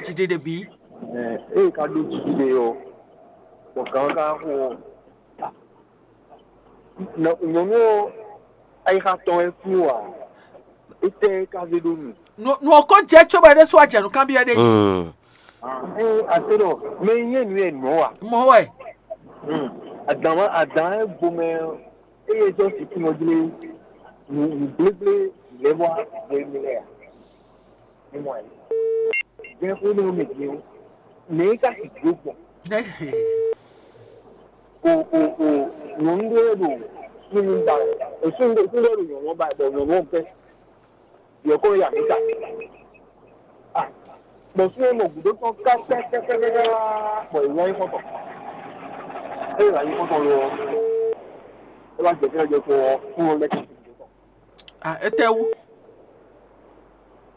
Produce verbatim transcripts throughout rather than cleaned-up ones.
Jide ɖe bǐ. Ée ka ɖó jide ɔ́, bɔ gǎn ka xo ɔ́, nyɔ̌nu ɔ́, ayixa tɔn wɛ kú ǎ. Étɛ́ ka zé ɖó nu? Nu ɔ́ ko jɛ cóbɔ é ɖésú wá jɛ nǔ kanbyɔ́ ɖé jí. Ée a se ɖɔ mɛ e nyí nǔ e nǔ ɔ́ a? Mɔ̌ wɛ. Adǎn adǎn e gbo mɛ ɔ́, eye sɔ́ sixú nɔ jlé nǔ gblégblé lɛ́ɛ wá hwenu lɛ́ɛ a? Ní mɔ ɛ. Jɛ́n xwé nú mì din ɔ́, mɛ e ka sixú gbɔn? O o o nyɔ̌nu ɖé ɖo súnnu ba wɛ. O súnnu ɖé súnnu ɖé ɖo nyɔ̌nu ba wɛ, bɔ nyɔ̌nu ɔ́ bɛ́. Yɛ kó ya mǐ ta. Bɔ súnnu ɔ́ nɔ gǔdo tɔn kákákákáká, bɔ è wá nyí xɔ́ntɔn. Ée è wá nyí xɔ́ntɔn lo ɔ́, é wá jɛ fínɛ́ jɛ kó ɔ́, súnnu ɔ́ lɛ́ kɛ. Ah, étɛ́wú?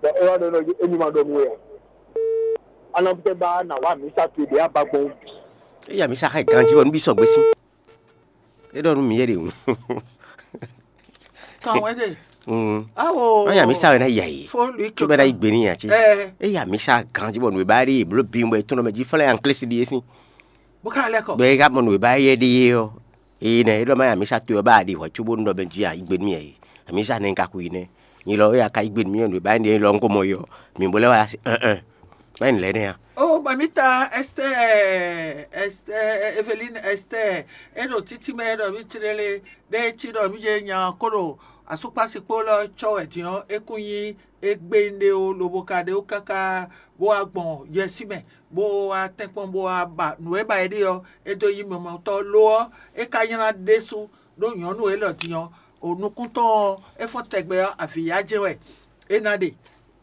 Bɔ é wá ɖɔ nɔ émí ma ɖɔ nú we ǎ. Anabutɛ ba na wá mǐ sa towe ɖě a ba gbɔn. Eya mi sa xɛ ganji bɔ nubí sɔgbe sí. E ɖɔ nú mi yɛ ɖe ŋu. Kan wɛ ɖe. Mm. Awo. Ɔnya mi sa wɛ na ya yi. Fo lui. Tso bɛ na yi gbe ni ya tse. Eh. Eya mi sa ganji bɔ nube ba ɖe blo bi bɔ etɔn mɛ ji fɔlɛ anklesi ɖi esi. Bó ká lɛ kɔ. Bɛ ka mɔ nube ba yɛ ɖe yɔ. Eye nɛ e ɖɔ ma ya mi sa to yɔ ba ɖi hwɛ tso bó nɔ bɛ ji a yi gbe mi yɛ. Mi sa nɛ ka ku yi nɛ. Nyi lɔ ya ka yi gbe mi yɔ nube ba ɖe lɔ ŋko mɔ yɔ. Mi bo lɛ wa si. Ɛn ɛn. Báyìí lɛ́ nɛ́ a? Ó, mami ta Ɛstɛ́ɛ, Ɛstɛ́ɛ, Evelín Ɛstɛ́ɛ, é ɖo títí mɛ ɖɔ mí clélé ɖé cí ɖɔ mí jɛ nya kó ɖo asúkpásikpó lɔ cɔ́ wɛ din ɔ́, é kún nyí égbé ɖé ó, lobo ka ɖe ó káká bó wá gbɔn yɛsí mɛ, bó wá tɛ́nkpɔ́n bó wá ba nǔ e ba é ɖe ɔ́, é dó yí mɔmɔtɔ́ lo ɔ́, é ka nylá ɖésú ɖó nyɔ̌nu élɔ́ din ɔ́, o nukún tɔn ɔ́, é fɔ́n tɛgbɛ ɔ́, avǐ yá jɛ́n wɛ é ná ɖe,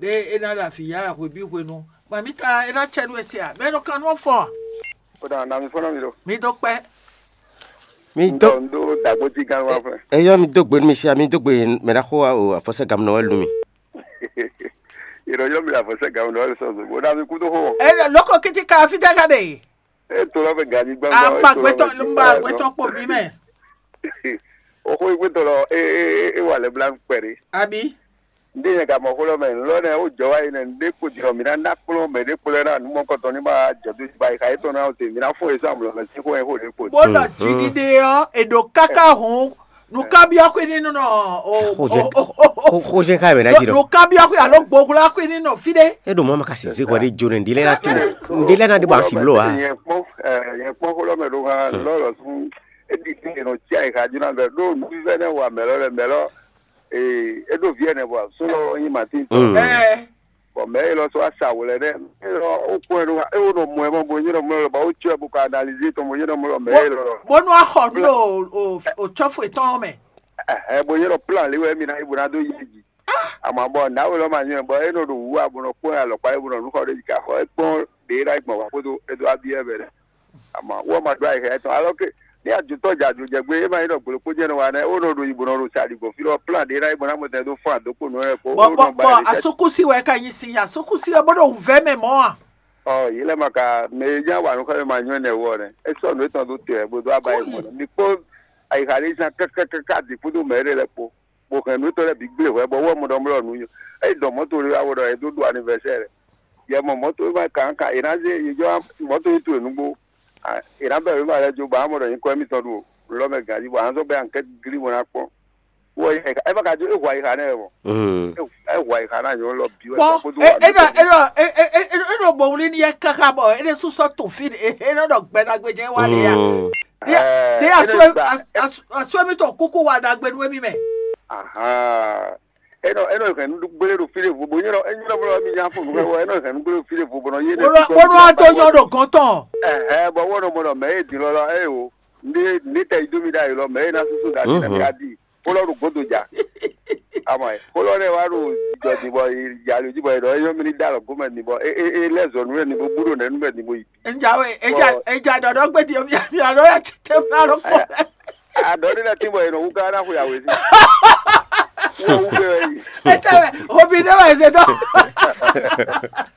ɖé é ná ɖo avǐ yá hwebǐ hwenu. Mami ta é ná cɛ nú we se a? Mɛ ɖo kan nú ɔ́ fɔ a? Kódà nami fɔ́nà mi ɖo. Mi dó kpɛ́. Mi dó. Ŋdɔ ŋdó dàgbójí gán wá fún ẹ. Eyɔ mi dó gbe nú mi sia, mi dó gbe mɛ ɖa xó wa o afɔsɛ gamɛ nɔ wɛ lu mi. Ìrọ̀jọ́ mi àfọ̀sẹ́ gàmù lọ́wọ́ sọ̀rọ̀ bó dá mi kú tó hó. Ẹ lọ lóko kìtì ká fi dá ká dé. E to lɔ fɛ ganyi gbangba. A ma gbẹtọ ma gbẹtọ kpɔ bí mɛ. Oxó yi gbẹtọ lɔ e e e wà lẹ bla kpɛri. Abi. Ndé yẹn gàmɔ xó lɔ mɛ lɔ nɛ ó jɔ wá yi nɛ ndé kpo jɔ mi ná ná kplɔn mɛ ɖé kpo lɛ ná nu mɔ kɔtɔn ní ma jɔ bí ba yi xa yi tɔn ná o te mi ná fún e sɔ amulɔ mɛ sí xó yẹn xó ɖé kpo. Bó lọ jí dídé ɔ èdò káká hùn nùkábíyá kó ní nínú o. Xojɛ xojɛ ká yɛ mɛ ná jí lɔ. Nùkábíyá kó alo gbogbo kó ní nínú fi dé. E ɖo mɔ ma ka si zé hwɛ ɖé jo ne ndé lɛ na tó ndé lɛ na ɖé bɔ asi blo wa. Yẹn kpɔn yẹn kpɔn xó lɔ mɛ ɖo hàn lɔlɔ fún. Edi fi yẹn nɔ tsi ayi xa jóná bɛ ɖó nuvívɛ nɛ wa mɛlɔ lɛ mɛlɔ. Ee, e ɖo vi ɛnɛ bɔ sólɔ nyi Matin tɔ. Ɛɛ. Bɔn mɛ yi lɔ sɔ asa wò lɛ nɛ. E lɔ o kpɔn ɛ ɖo e wo nɔ mɔ ɛ mɔ bo nyɛ nɔ mɔ ɛ lɔ ba o tsɔ ɛ bo ka analize tɔn bo nyɛ nɔ mɔ ɛ lɔ mɛ yi lɔ. Bonu axɔ nu o o o tsɔfu etɔn mɛ. Ɛhɛ bo nyɛ nɔ plan li wɛ mi na yi bo na do yi ji. Ama bɔ na wo lɔ ma nyɛ bɔ e nɔ ɖo wu a bo nɔ kpɔn ɛ alɔkpa e bo nɔ nu xɔ ɖe yi ka xɔ e kpɔn ɖe e na yi gbɔn wa kpodo e do abi ɛ bɛ dɛ. Ama wɔ ma ɖo ayi hɛ tɔn alɔ ke ní adzotɔ dza dzo jɛ gbé e ma yi ɖɔ gbolo kpó jɛ nɔ wa nɛ o nɔ ɖo yi bo nɔ ɖo sa ɖi gbɔn fi lɔ plan ɖe na yi bo na mɔ tɛ do fún adokpo nɔ yɛ ko o nɔ ba bɔ yi tɛ. Asukusi wɛ ka nyi si asukusi wɛ bó ɖo wǔvɛ mɛ mɔ a. Ɔ yi lɛ ma ka mɛ e nya wa nu xɛ ma nyɔ nɛ wɔ nɛ e sɔ nu etɔn do tɛ bo do aba yi mɔ nɛ mi kpó ayi xa ɖe zan kɛkɛkɛkɛ adi kpódó mɛ ɖe lɛ kpó. Bó hɛn nǔ tɔn lɛ́ɛ bǐ gblé hwɛ bɔ wɔ mɔ ɖɔ mlɔ nǔ nyo. Eyi dɔn mɔto ɖé wá wɔ ɖɔ e dó ɖu anivɛsɛ́ lɛ. Yɛ mɔ mɔto e ma kǎnká è nǎ zé yě jɔ mɔto yi towe nǔgbó. È nǎ bɛ wěma lɛ́ɛ jó ba mɔ ɖɔ nyǐkɔ émítɔn ɖo lɔ mɛ gǎn jí bɔ a nǎ zɔ́ bɛ́ ankɛ́t glí bɔ ná kpɔ́n. Wɔ é ma ka jó é hu ayixa nɛ́ wɛ mɔ. É hu ayixa ná nyɔ̌nu lɔ bǐ wɛ. Bɔn kpódó é é nɔ é nɔ é é é é nɔ gbɔn wlí n'i yɛ káká bɔ é ɖésú sɔ́ to fí é é nɔ ɖɔ gbɛ ɖagbe jɛ wá lé ya. Ɖé ɖé asú asú asú émítɔn kúkú wá ɖagbe nú émí mɛ. Ahan. Enɔ enɔ hɛn nu gbélé ɖo fí ɖé vo bo nyɔ́ enɔ mlɔ mi nya fo nǔ wɛ enɔ hɛn nu gbélé ɖo fí ɖé vo bɔ nɔ yé ɖe. Wonú ató nyɔ́ ɖo gɔn tɔn. Ɛhɛ bɔ wɔ nɔ mɔ nɔ mɛ e din lɔ lɔ eye o ní ní tɛ yi dó mi ɖ'ayǐ lɔ mɛ e ná súsú ɖa mi nɛ mi adi kólɔ ɖo godo ja. Amɔ kólɔ ɖe wa ɖo jɔ din bɔ yalo ji bɔ yɛ ɖɔ eyɔ mi ní da lɔ gomɛ din bɔ e e e lɛ zɔ nu yɛ ni bo bú ɖo nɛ nu bɛ din bo yi. Njawe eja eja ɖɔɖɔ gbedi omi ami alo ya tete mi alo kpɔ. Aɖɔ ɖé lɛ́ɛ tín bɔ è nɔ wú ká ná xwe awě sí. Wú wú gbé wɛ yi. Ete wɛ obi ɖé wɛ zé dɔ.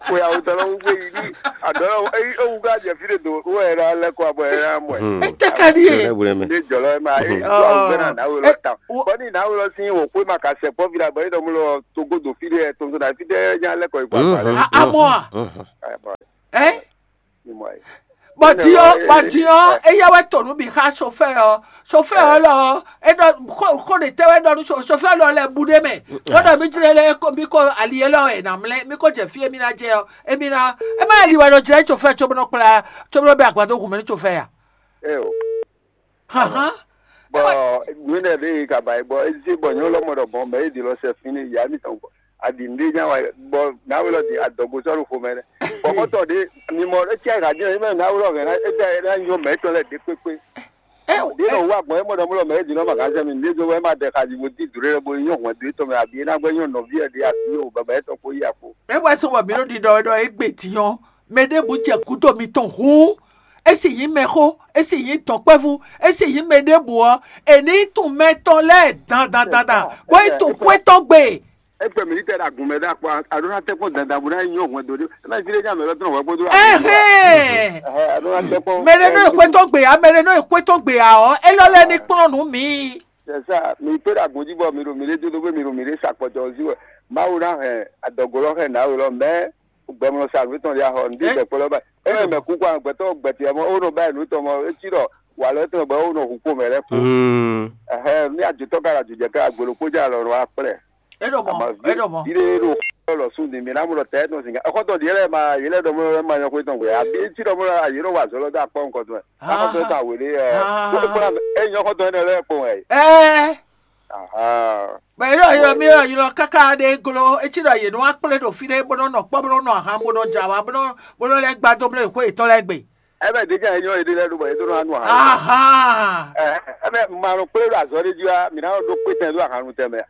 Xwe awě tɔ lɔ wú gbé yi ní. Adɔlɔ eyi ewu ka jɛ fi ɖe do wo yɛ ɖa lɛ kɔ abɔ yɛ ɖa mɔ ɛ. Hmm. Ete ka ɖi ye. Jɔlɛ wulɛ mɛ. Ne jɔlɔ ɛ ma e Mhm. Awu bɛ na nawe lɔ ta. Wo- Bɔ ni nawe lɔ si wo kpe ma ka sɛ kpɔ fi la bɔ e dɔ mu lɔ togo do fi ɖe tɔn na fi ɖe nya lɛ kɔ yi kɔ agba lɛ. Mhm. A- amɔ a? Mhm. Ɛ, bɔ Ɛ? Ni mɔ ɛ. Bɔ Ene din ɔ wa bɔ e- din ɔ ɛ. Eya wɛ to nú mi xa sofɛ ɔ. Sofɛ ɔ lɔ ɔ, e ɖɔ xó xó ɖe tɛ wɛ ɖɔ nú so- sofɛ lɔ lɛ bu ɖe mɛ. Bɔ ɖɔ mi jlɛ lɛ ko mi ko ali e lɔ ɛ na mlɛ mi ko jɛ fi e mi na jɛ ɔ e mi na e ma li wɛ ɖɔ jlɛ sofɛ tso bɔ nɔ kplá tso bɔ nɔ bɛ agbadó gun mɛ ní sofɛ ya. Ɛ o. Hàn hàn. Bɔ nínú ẹ̀ lè kaba ẹ̀ bɔ ezí bɔ nyɔ́ lɔmọ ɖɔ bɔn mɛ é di lɔ sɛ fínní yá mítɔn gbɔ. Aɖǐ ɖé nyá wa bɔ náwó lɔ di adɔgo sɔ́ ɖo xomɛ nɛ. Bɔkɔtɔ ɖé mimɔ é cí ayǐ hǎjɛ é mɛ náwó lɔ hɛn é dá é ná nyɔ mɛ tɔn lɛ ɖé kpékpé. Ɛ Ɖé nɔ wú agbɔn é mɔ ɖɔ mɔ lɔ mɛ é di nɔ ma gán sɛ mi ní é dó wɛ é ma ɖɛ xaji bo dí dǔ ɖé bɔ é nyɔ hwɛ̌n dó é tɔn mɛ abi é ná gbɛ nyɔ nɔví ɛ ɖé abi ó baba é tɔn kó yí akpo. É wɛ sɔ́ bɔ mǐ ɖo ɖiɖɔ ɖɔ égbé din ɔ́, mɛ ɖěbǔ jɛ gǔdo mitɔn hǔn, é sì nyí mɛxó, é sì nyí dɔ̌nkpɛ́vú, é sì nyí mɛ ɖěbǔ ɔ́, è ní tunwun mɛ tɔn lɛ́ɛ dandandandan, bó yi tunwun xwé tɔn gbe. Égbé mi tɛ ɖo agun mɛ ɖo akpɔ aɖó ná tɛkpɔn dandan bó ná nyɔ hwɛndo ɖé ná fi ɖé nya mɛ lɔ tɔn hwɛ kpódó. Ɛhɛn. Aɖó ná tɛkpɔn. Mɛ ɖé nɔ yi xwé tɔn gbe ya, mɛ ɖé nɔ yi xwé tɔn gbe ya ɔ́, é lɔ lɛ́ ní kplɔ́n nǔ mi. C'est ça, mi pé ɖo agun jí bɔ mi ɖo mi ɖé dó dó gbé mi ɖo mi ɖé sa kpɔjɔ ɔ́ jí wɛ. Mawu ná hɛn adɔgo lɔ hɛn nǎwe lɔ mɛ gbɛmlɔ sa nǔ tɔn ɖi ahɔ ní dɛkpɔ lɔ báyìí. É mɛ kú kó agbɛtɔ gbɛtɛ mɔ ó nɔ báyìí nǔ tɔn mɔ é cí ɖɔ wà lɔ tɔn bɔ ó nɔ hu kpó mɛ lɛ kú. Mm. Ɛhɛ ní àjòtɔ ká àjòjɛ ká agbolo kó já lɔ wá kplɛ. É ɖo mɔ, é ɖo mɔ. Bí ɖé ɖo lɔ sún ní mi ná mú lɔ tɛ tɔn sìn ká. Ɛkɔtɔ ɖi yɛlɛ ma yɛlɛ ɖɔ mɔ ma nyɔ xwé tɔn gbé. Àbí é cí ɖɔ mɔ yě ɖɔ wà zɔlɔ dó akpɔ nǹkan tɔn. Akɔtɔ ta wèlé ɛ. Ó ti kpla é nyɔ xɔtɔn énɛ́ lɛ́ɛ kpɔn wɛ. Ɛɛ. Aha. Bɛ yɔrɔ yɔrɔ mi yɔrɔ yɔrɔ kaka ɖe glo etí ɖɔ yě nɔ wá kplé ɖo fí ɖé bó nɔ nɔ kpɔ́ bó nɔ nɔ ahan bó nɔ dza wá bó nɔ bó nɔ lɛ́ gbá dó bló xó yětɔn lɛ́ɛ gbe. Ɛbɛ ɖe jɛ enyɔ yɛ ɖe lɛ ɖo bɔ yɛ ɖo nɔ anu ahan. Aha. Ɛbɛ ma nɔ kplé ɖo azɔ ɖe jí wá mi ná ɖo kpé tɛn ɖo ahan nu tɛn mɛ.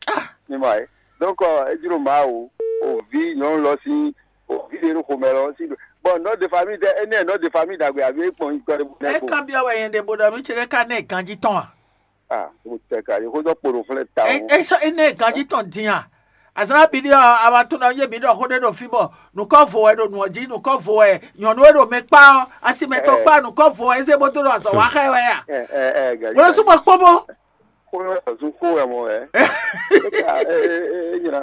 Ah. Mi mɔ ɛ. Donc ɛ edzi ɖo ma o o vi nyɔnu lɔ si o vi ɖe ɖo xomɛ lɔ si. Bon nɔ de famille tɛ ene nɔ de famille dagbe abi ekpɔn yi kɔ ɖe bu nɛ ko. Eka biɔ wɛ yɛn ɖe bo ɖɔ mi tse ɖe ka nɛ ganji tɔn a? Ah, o tɛ ka yi xójɔ kpo ɖo flɛ ta o. Esɔ ene ganji tɔn din a? Azan bi ɖi ɔ awa tún na yé mi ɖɔ xó ɖé ɖo fí bɔ nukɔ vo wɛ ɖo nua jí nukɔ vo wɛ nyɔnu e ɖo mɛ kpa ɔ asimɛtɔ kpa nukɔ vo wɛ eze bó dó ɖo azɔ wa xɛ wɛ a? Wolo súnmọ́ kpóbó. Kó yọ ọ̀sùn kó wẹ̀ mọ̀ ẹ́. Ẹ nyina.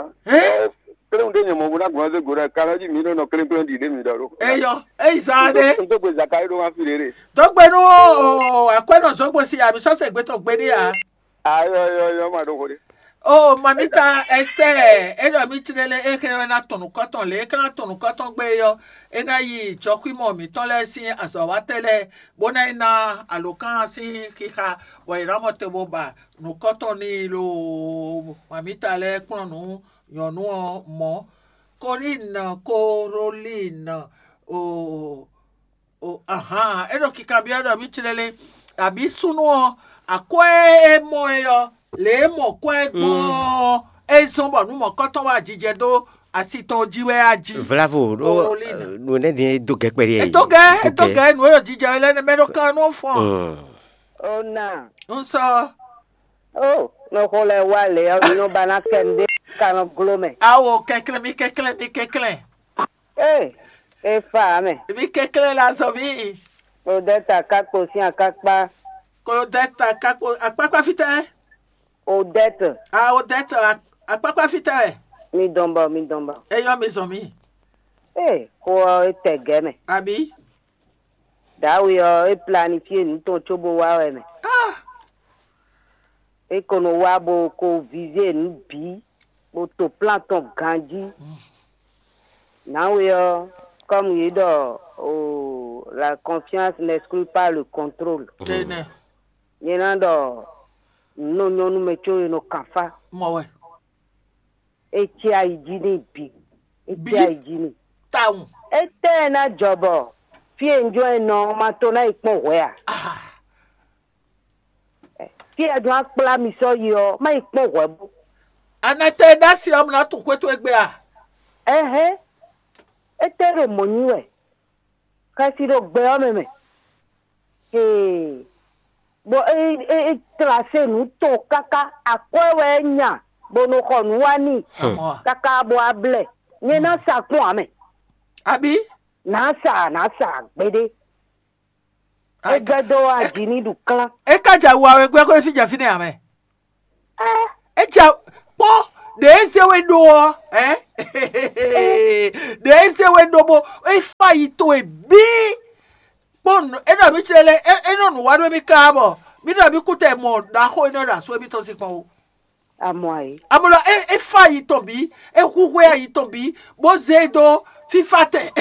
Kpéwọ́n ɖé nyɔmɔ bó ná gbọ́n dé go ɖe kan lɔ jí mi nɔ nɔ klékplé ɖi ɖé mi ɖɔ ɖó. Eyɔ eyi zan ɖé. N tó gbe zaka yi ɖó wá fi ɖé ɖé. Dɔgbe nú akwɛnɔ zɔgbo si ami sɔsɛ gbɛtɔ gbe ɖé a. Ayɔ yɔ yɔ ma ɖo xo ɖé. O mamita Esther, e ɖɔ mi tsi ɖe lé e xe wɛ ná tɔn nukɔtɔn lé e ka ná tɔn nukɔtɔn gbe yɔ e ná yi jɔxwímɔ mǐtɔn lɛ́ɛ sín azɔ̌watɛ́ lɛ́ɛ bó ná yi ná alǒkan sín xixa bɔ è nǎ mɔ te bó ba nǔkɔntɔn n'i loo. Mamita lɛ́ɛ kplɔ́n nǔ nyɔ̌nu ɔ́ mɔ̌. Kolín, Kolín, o o ahan é ɖo kikanbyɔ́ ɖɔ mǐ clɛ́ lé abǐ súnnu ɔ́ akwɛ́ e mɔ ɛ ɔ́ lě e mɔ kwɛ́ gbɔn ɔ́ é zɔ́n bɔ nǔ mɔ̌kɔ́tɔn wá jijɛ dó asi tɔn jí wɛ á jí. Vlavo ɖó Kolín. Nǔ énɛ́ din é dó gɛ́ kpɛɖé. É dó gɛ́ é dó gɛ́ nǔ e ɖo jijɛ wɛ lɛ́ɛ nɛ́ mɛ ɖó kan nú fɔ́n. Ó nà. Un sɔ. Ó, nɔ xo lɛ wá lě ɔ́, nɔ ba ná kɛ nɖé ka nɔ gló mɛ. Awo kɛnklɛ́n mi kɛnklɛ́n mi kɛnklɛ́n. Ee, é fa ǎ mɛ. Mi kɛnklɛ́n la zɔ mǐ. Klodɛ́ta ká kpo sín akákpá. Klodɛ́ta ká kpo akpákpá fítɛ́. Odɛ́tɛ. A Odɛ́tɛ akpákpá fítɛ́ wɛ. Mi dɔn bɔ, mi dɔn bɔ. É yɔ mi zɔn mǐ. Ee, xó ɔ́, é tɛ gɛ̌ mɛ. Abǐ. Dǎwe ɔ́, é planifie nǔ tɔn cóbó wá wɛ mɛ. Ah! É ko nɔ wá bó ko vizé nǔ bǐ, bó to plán tɔn ganjí. Nǎwe ɔ́, kɔ́mu yě ɖɔ o la confiance n'exclut pas le contrôle. Énɛ́. Nyɛ ná ɖɔ nǔ nɔ nyɔ́ nú mɛ có e nɔ kan fá. Mɔ wɛ. É cí ayi jí n'i bǐ. É cí ayi jí n'i. Tawun. Étɛ́ ná jɔ bɔ fí e un jɔ́n ɛ nɔ ɔ́ ma to ná yi kpɔ́n hwɛ a? Ah. Fí e a jɔ́n akplá mi sɔ́ yi ɔ́, má yi kpɔ́n hwɛ bó. Anɛtɛ e ɖó asi ɔ́, un ná tunwun xwé towe gbe a? Ɛhɛn, étɛ́ ɖo mɔ̌ nyi wɛ? Xɛsi ɖo gbɛ ɔ́ mɛ mɛ. Hee, bɔ é é é tlase nǔ tɔn káká akwɛ́ wɛ é nya bó nɔ xɔ nǔ wá n'i káká bó wá blɛ́. Nyɛ ná sa kpɔ́n ǎ mɛ. Abǐ? Nǎ sa, nǎ sa gbeɖé. É gbɛ́ dó aji ní ɖu klán. É ka jɛ awu awe gbɛ́ xó fí jɛ fínɛ́ ǎ mɛ. É jɛ kpɔ́n ɖě é zé we ɖó ɔ́, ɛ ɖě é zé we ɖó bó é fá yi towe bíí. Kpɔ́n é nɔ mǐ clé lɛ́ɛ é nɔ nǔ wa nú émí káá bɔ mǐ nɔ mǐ kú tɛ mɔ ɖaxó énɛ́ ɖo asú émítɔn sín kpɔ́n ó. Amɔ ayǐ. Amɔ̌ é é fá ayi tɔn bǐ, é húhwɛ ayi tɔn bǐ, bó zé e dó fífá tɛn.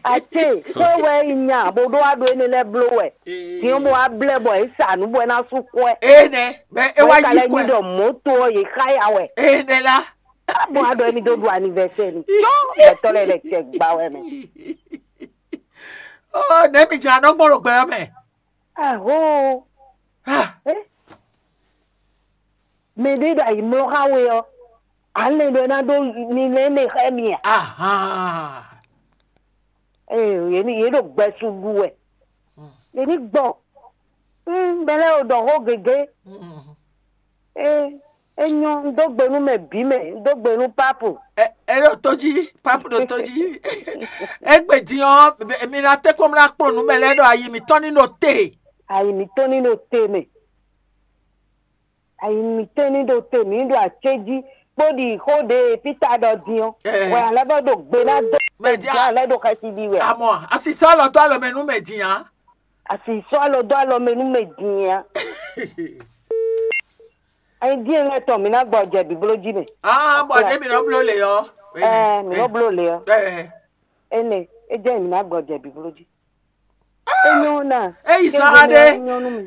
Ace, xó wɛ é nya bó ɖó wá ɖó énɛ́ lɛ́ɛ bló wɛ. Din bó wá blɛ́ bɔ é sa nǔ bɔ é ná sú kwɛ́. Énɛ́, bɛ é Bɔ wá é ka yí lɛ́ nyi kwɛ. Ɖɔ mɔ̌to ɔ́ yě xá ya wɛ. Énɛ́ lá. Bó wá ɖɔ émí dó ɖu anivɛsɛ́ ni. Tó gbɛtɔ́ lɛ́ɛ lɛ cɛ gba wɛ mɛ. Ó, nɛ̌ mi jɛ anɔ́ gbɔn ɖo gbɛ ɔ́ mɛ? Ahoo. Ah, Mɛ ɖé ɖo ayǐmlɔ́ xá we ɔ́, ǎ lɛn ɖɔ é ná ɖó mi lɛ́ mɛ xá mi a? Ahán. Ee, yě ní yě ɖo gbɛsu ɖu wɛ. Yě ní gbɔ. Ŋ bɛ lɛ́ o ɖɔ xó gěgé. Ee, é nyɔ́, un dó gbe nú mɛ bǐ mɛ, un dó gbe nú Pápu. Ɛ ɛ ɖo tó jí, Pápu ɖo tó jí. Égbé din ɔ́, mi ná tɛ́ kpɔ́n ná kplɔ́n nǔ mɛ lɛ́ɛ ɖɔ ayi mǐtɔn ní ɖo te. Ayi mǐtɔn ní ɖo te mɛ. Ayi mǐtɔn ní ɖo te mǐ ɖo acéjí kpó ɖi xó ɖe Pita ɖɔ din ɔ́. Ɛ. Wɛ alɛ bɔ ɖo gbe ná dó Mɛ dia. Gbe alɛ ɖo xɛsi ɖi wɛ. Amɔ asisɔ alɔ dó alɔ mɛ nú mɛ din ǎ. Asi sɔ́ alɔ dó alɔ mɛ nú mɛ din ǎ. Ayi dín lɛ́ɛ tɔn mǐ ná gbɔ jɛ bǐbló jí mɛ. Ah, bɔ ne mi nɔ bló le ɔ́. Ɛɛ, mǐ nɔ bló le ɔ́. Ɛɛ. Énɛ́, é jẹ́ mǐ ná gbɔ jɛ bǐbló jí. É nyɔ́ ná. Eyi zan aɖe.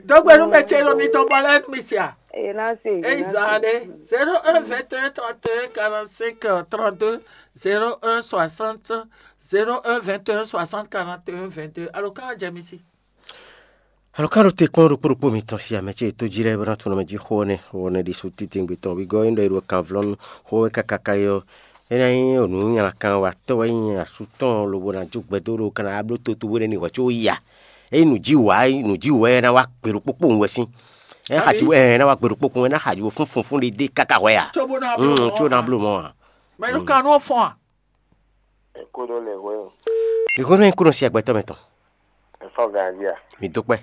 Dɔgbe nu mɛ ce lo mi tɔn bɔ lɛ nu mi sia. Eye ná se. Eyi zan aɖe. Zéro un vingt et un trente et un quarante-cinq trente-deux, zéro un soixante, zéro un vingt et un soixante quarante et un vingt-deux. Alo kan jɛ mi si. Alɔkánɖóte kpɔ́n ɖokpó ɖokpó mitɔn si amɛ ce e tó jí lɛ́ɛ bó ná tunwun mɛ jí xó ɔ́ nɛ́, xó ɔ́ nɛ́ ɖésú titewungbe tɔn wígɔ́ é nɔ e ɖo kanvlɔ́nu xó wɛ káká ká é ɔ́, é ná nyí nǔnywalakan watɔ́ wɛ nyí asú tɔn lobo ná jó gbɛdó ɖo kan ná bló toto bó nɛ́ ní hwɛ̌ có yi a? É nyí nǔjíwǔ wɛ é ná wá gbe ɖokpó kpowun wɛ sín. É ná xaji wɛ é ná wá gbe ɖokpó kpowun é ná xaji wɛ fúnfún fún ɖé dé káká hwɛ a? Có bó ná bló mɔ̌. Có ná bló mɔ̌ a? Mɛ nú kan nú ɔ́ fɔ́n a? È kó ɖó lɛ hwɛ o. Ìhónú e kúrò sí agbɛtɔ́ mɛ tɔn. È fɔ́ ganjí a? Mǐ dó kpɛ́.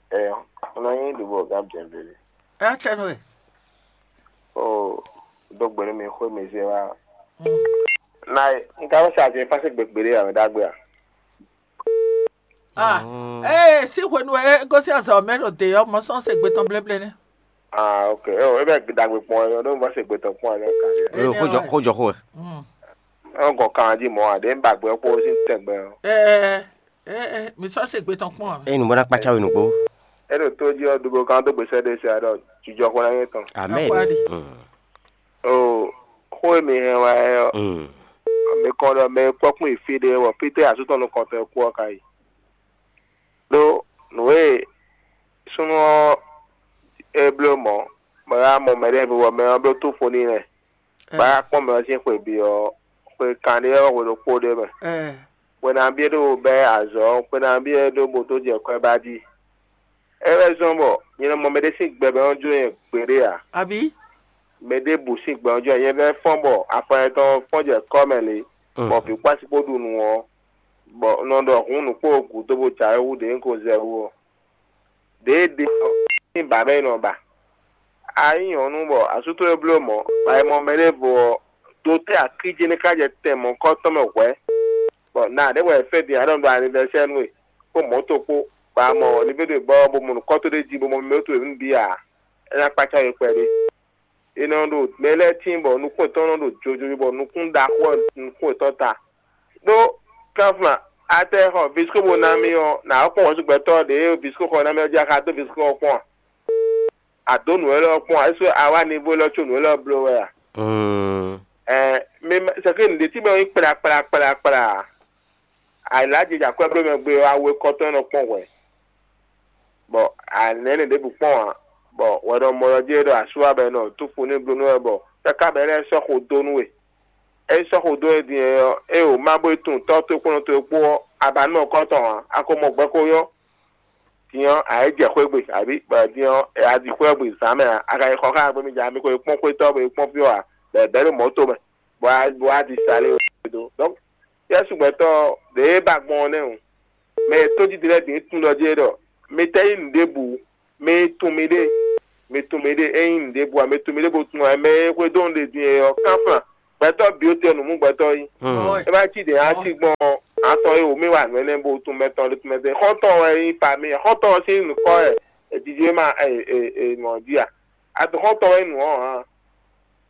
Ɛ, un nɔ nyí ɖubo gán bǐɛ́nbíɛ́. Ɛ, cɛ nú ɛ. O, dó gbe nú mi xwé mi zé wá. Na e, un ka wá sa azɛ fásitì gbegbe ɖé ǎ, mɛ ɖagbe a? Ah, ee, sí hwenu e é gosín azɔ̌ mɛ ɖo dě ɔ́, mɔ sɔ́ se gbe tɔn bléblé nɛ́. Ah, ok. Eo, ebe dagbe kpɔn ɛ, ɖo va se gbe tɔn kpɔn ɛ, kan ɛ. Ee, xó jɔ xó jɔ xó ɛ. Ɔn gɔn kan jí mɔ a, ɖe ba gbɛ kpɔ sí tɛgbɛ ɔ. Ee, ee, mi sɔ́ se gbe tɔn kpɔn ɛ. Eye nǔgbó ná kpácá we nǔgbó. E ɖo tó jí ɔ, dugo kan dó gbèsè ɖe se aɖɔ jijɔ xɔ na yɛ tɔn. Amen. Akwa ɖi. Mm. O, xó e mi hɛn wá ɛ ɔ, Mm. mi kɔn ɖɔ mɛ kpɔkpɔn ìfí ɖé wɔ, fítɛ́ asútɔ́ nukɔntɔn e kú ɔ ka yi. Ɖó nǔ e súnnu ɔ́ é bló mɔ̌, bɔ é wá mɔ mɛɖé bɔ mɛ ɔ́ bló túnfo n'i lɛ́ɛ, bɔ é wá kpɔ́n mɛ ɔ́ sín xwe bǐ ɔ́, xwe kanɖé ɔ́ hwe ɖokpó ɖ'é mɛ. Hwe nabí é ɖó bɛ́ azɔ̌ ɔ́, xwe nabí é ɖó bo dó jɛ kwɛ́ ba jí. É wɛ zɔ́n bɔ nyɛ nɔ mɔ mɛɖé sín gbɛ bɔ é nɔ jló nyɛ gbeɖé ǎ. Abǐ? Mɛ ɖěbǔ sín gbɛ ɔ́ jló nyɛ vɛ́ fɔ́n bɔ afɔ nyɛtɔn fɔ́n jɛ kɔ́ mɛ lě, bɔ vǐ kpó asi kpó ɖu nǔ ɔ́, bɔ un nɔ ɖɔ hǔn nǔ kpó gǔdo bó jǎwe hú ɖě un ko zɛ wú ɔ́. Ɖěe ɖe ɔ́, sín bǎ mɛ è nɔ ba. A nyí nyɔ̌nu bɔ asú towe bló mɔ̌, bɔ a yi mɔ mɛɖěvo ɔ́, do tɛ́ akíjɛ́nɛ́kájɛ tɛn mɔ̌kɔ́tɔn mɛ hwɛ̌, bɔ na ɖěbǔ wɛ è fɛ́ din ǎ ɖɔ un ɖo anivɛsɛ́ nú we, kpó mɔ̌to kpó, bɔ a mɔ livíɖe gbɔ ɔ́, bó mɔ nǔkɔ́ towe jí, bó mɔ mɛ towe nǔ bǐ ǎ, é ná kpácá we kpɛɖé. È nɔ ɖo mɛ lɛ́ɛ tíin bɔ nukún yětɔn nɔ ɖo jojo bɔ nukún ɖaxó ɔ́ nukún yětɔn ta. Ɖó kánflán, a tɛ xɔ visiko bó ná mì ɔ́, nǎ kpɔ́n hwɛ̌ gbɛtɔ́ ɖě visiko xɔ ná mì ɔ́ jí a ka dó visiko ɔ́ kpɔ́n a? A dǒ nǔ élɔ́ kpɔ́n a? É sú a wá nivo élɔ́ có nǔ élɔ́ bló wɛ a? Mm. Ɛɛ, mi ma- sɛkí nǔɖé tí mɛ ɔ́ nyí kpla kpla kpla kpla a? Ayǐlájijɛ akwɛ́ bló mɛ gbe ɔ́, awe kɔ́tɔn nɔ kpɔ́n hwɛ̌. Bɔ a nɛ̌ nǔ ɖěbǔ kpɔ́n ǎ, bɔ hwɛɖɔmɔ ɔ́ jɛ ɖɔ asú wá bɔ è nɔ túfu n'i bló nú wɛ bɔ káká bɔ é lɛ́ sɔ́ xo dó nú we. É sɔ́ xo dó we din ɔ́, é wǒ má bó yi tunwun tɔ́ towe kpó nɔ towe kpó ɔ́, a ba nɔ kɔ́ tɔn ǎ, a ko mɔ gbɛ ko nyɔ́. Din ɔ́, a yě jɛ xwé gbe, abǐ bɔ din ɔ́, a ɖi xwé ɔ́ gbe zǎn mɛ ǎ, a ka yi xɔ xá agbemija, mi ko yi kpɔ́n xwétɔ́, bo yi kpɔ́n fí ɔ́ ǎ, bɔ è bɛ̌ ɖo mɔ̌ tomɛ, bɔ a bɔ a ɖi sa lé we dó. Donc, Yɛsu gbɛtɔ́ ɖě ba gbɔn ɔ́ nɛ́ o. Mɛ e tójí din lɛ́ɛ bǐ tunwun ɖɔ jí é ɖɔ: Mi tɛ́ nyí nǔɖébǔ, mi tunwun miɖée, mi tunwun miɖée. É nyí nǔɖébǔ ǎ, mi tunwun miɖée bó tunwun ǎ. Mɛ e xwedó nǔɖé din é ɔ́, kánflán. Gbɛtɔ́ bǐ ó te ɔ́, nǔ mú gbɛtɔ́ yí. Ɛ má cí ɖě á cí gbɔn atɔn e wǒ mì wa nǔ énɛ́ bó tunwun mɛ tɔn ɖé tunwun mɛ tɔn. Xɔ́ntɔn wɛ nyí pa mì, xɔ́ntɔn ɔ́ sín nǔkɔ wɛ è jiji ma è mɔ jí a? Adɔxɔ́ntɔn wɛ nyí nǔ ɔ́ hǎn.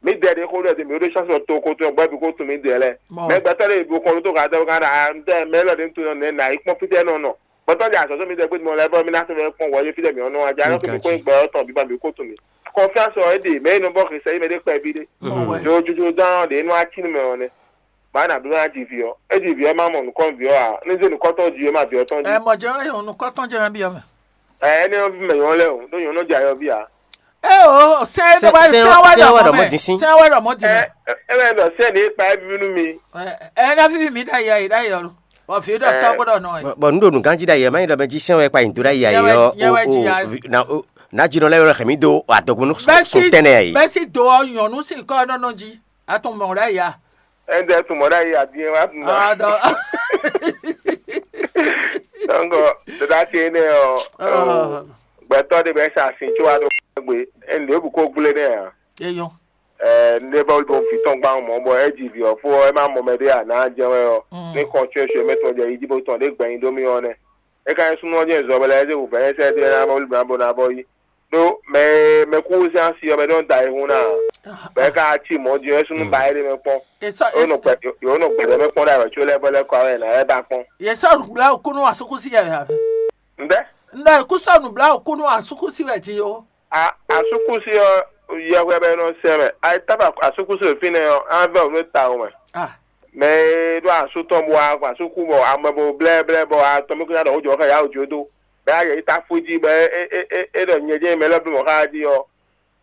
Mǐdɛɛ ɖě xó ɖɔ mǐ ɖó sɔ́sɔ toxo tɔn gbɛ́ bǐ xó tunwun mǐdɛɛ lɛ́ɛ. Mɛ gbɛtɔ́ ɖé bó kɔn ɖó tó gǎn dɔ́ gán ɖo ntɛ́ mɛ élɔ́ ɖě tunwun nɔ nɛ̌ nǎ yi kpɔ́n fítɛ́ nɔ nɔ. Gbɛtɔ́ jɛ azɔ̌ sɔ́ mǐdɛɛ gbé mɔ lɛ́ɛ bɔ mí ná tunwun kpɔ́n wɔ yé fítɛ́ mǐ ɔ́ nɔ a jǎ nɔ kó kó gbɛ ɔ́ tɔn bǐ ba mǐ kó tunwun mǐ. Kɔnfíásɔ ɔ́ é ɖe mɛ e nɔ bɔ xisɛ yí mɛ ɖé kpɛví ɖé. Yo jojo dán ɖě nɔ ací nú mɛ ɔ́ nɛ́. Bǎ nǎ bló ná ji vǐ ɔ́. É ji vǐ ɔ́ é má mɔ nǔkɔn vǐ ɔ́ ǎ. Ní zé nǔkɔtɔn ji é má vǐ ɔ́ tɔn jí. Ɛ mɔ jɛ ɔ́, nǔkɔtɔn jɛ ná byɔ́ mɛ. Ɛ, énɛ́ ɔ́ ví mɛ nyɔ̌ lɛ́ɛ o, ɖó nyɔ̌ nɔ jɛ ayɔ ví ǎ. Ɛ o, sɛn é Sɛn- ɖɔ wɛ sɛn- sɛn wɛ sɛn ɖɔ wɛ mɔ ɖɔ mɛ, mɔ̌ din sín. Sɛn wɛ ɖɔ mɔ din Ɛ, mɛ. É wɛ ɖɔ sɛ́n ní kpa é ví nú mi. Ɛ, ɛ ná víví mi ɖ'ayǐ ayǐ ɖ'ayǐ ɔ́ lo. Bɔ vǐ ɖɔ Ɛ. Tɔ́ bó ɖɔ nɔ ɛ. Bɔ nǔ ɖo nǔganjí ɖ'ayǐ ɛ má nyí ɖɔ mɛ jí sɛn wɛ kpa nyi dó ɖ'ayǐ ayǐ Nyɛ wɛ- ɔ́ nyɛ wɛ o- ji o ya. vi- na- o- ná jí nɔ lɛ́ wɛ xɛ mǐ dó adɔgbónú Bɛ́ sɔn sí- tɛnɛ ayǐ. Bɛ́ sí do ɔ́ nyɔ̌nu sín kɔ́ ɔ́ nɔ nɔ jí. A tún mɔ ɖ'ayǐ a? Ɛnɛ́ tún mɔ ɖ'ayǐ adín wá tún ná. Adɔ. Dɔnkɔ, dada ce énɛ́ ɔ́, Ah. Gbɛtɔ́ ɖé bɛ sa sin tso wa ɖo gbe. Ɛnɛ ɖěbǔ ko gblé nɛ ǎ. Eyɔn. Ɛ, ne bɔ ɖo vǐ tɔn gban mɔ bɔ é ji vǐ ɔ́ fó ɔ́, é má mɔ mɛ ɖé ǎ ná jɛ wɛ ɔ́. Mm. Ní kɔn tsyɔ́ tsyɔ́ mɛ tɔn jɛ yi jí bó tɔn ɖě gbɛnyi dó mì ɔ́ nɛ́. É ka nyí súnnu ɔ́ jɛ zɔ bɔ lɛ́ ɛ zé wǔvɛ́ nyɛ sɛ́ ɖé ná bɔ lǐbá bó ná bɔ yi. Ɖó mɛ e mɛ kú zán asi ɔ́ mɛ ɖó da ayihún ná. Bɔ é ka cí mɔ̌ din ɔ́ é súnnu ba é ɖé mɛ kpɔ́n. Yě sɔ́ Yǒ nɔ gbɛ yǒ nɔ gbɛɖɛ mɛ kpɔ́n ɖo awɛ có lɛ́ bɔ lɛ́ kɔ awɛ ná ɛ ba kpɔ́n. Yě sɔ́ nǔgbla òkúnú asúkúsí yɛ wɛ. Ŋɖɛ? Ŋɖɔ yě kú sɔ́ nǔgbla òkúnú asúkúsí wɛ din ó. A asúkúsi ɔ́, yɛhwɛ bɛ nɔ sɛ mɛ. Ayitaba asúkúsi ɖo fínɛ́ ɔ́, á vɛ wǔ nú ta wú mɛ. Ah. Mɛ e ɖó asú tɔn bɔ asúkú bɔ amɛ bo blɛ́blɛ́ bɔ atɔn mɛ kúnya ɖɔ wǒ jɔ xɛ yá wǒ jó dó. Bɛ ayɛ yi ta fú jí bɛ é é é é ɖɔ nyɛ jɛ mɛ lɛ́ɛ bló mɔ xá jí ɔ́.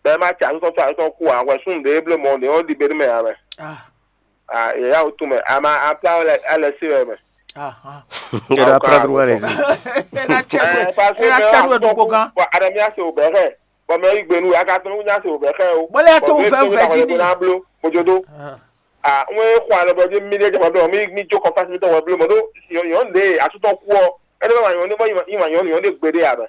Bɛ é má tsi asú tɔn tó asú tɔn kú ǎ, hwɛ súnnu ɖě bló mɔ ɖě ɔ́ ɖi be nú mɛ ǎ mɛ. Ah. Ah, yɛ yá wǒ tún mɛ. Ama aplá alɛ alɛ sí wɛ mɛ. Ah, ah. Ŋgɛɖɔ apra dro wɛ lɛ zi. Ena cɛ Ɛ, parce que ena mɛ cɛ wá nu eɖokpo gán. Bɔ adamia se wò bɛ xɛ. Bɔ mɛ yi gbe nu ya ka tɔn nya se wò bɛ xɛ o. Bɔlɛ ya to Bɔ wò mɛ fɛ to wò fɛ ta jí wòle ni. Bɔ na blo. Mojodo. Ah. Ah, ŋue xɔ alɔ bɔ dzi mi ɖe jama blo mi mi jo kɔfasi mi tɔn wɔ blo mɔ do. Yɔn de atutɔ ku ɔ. Ɛdɛ bɛ ma yɔn de bɔ yi ma yɔn yɔn de gbe de ya mɛ.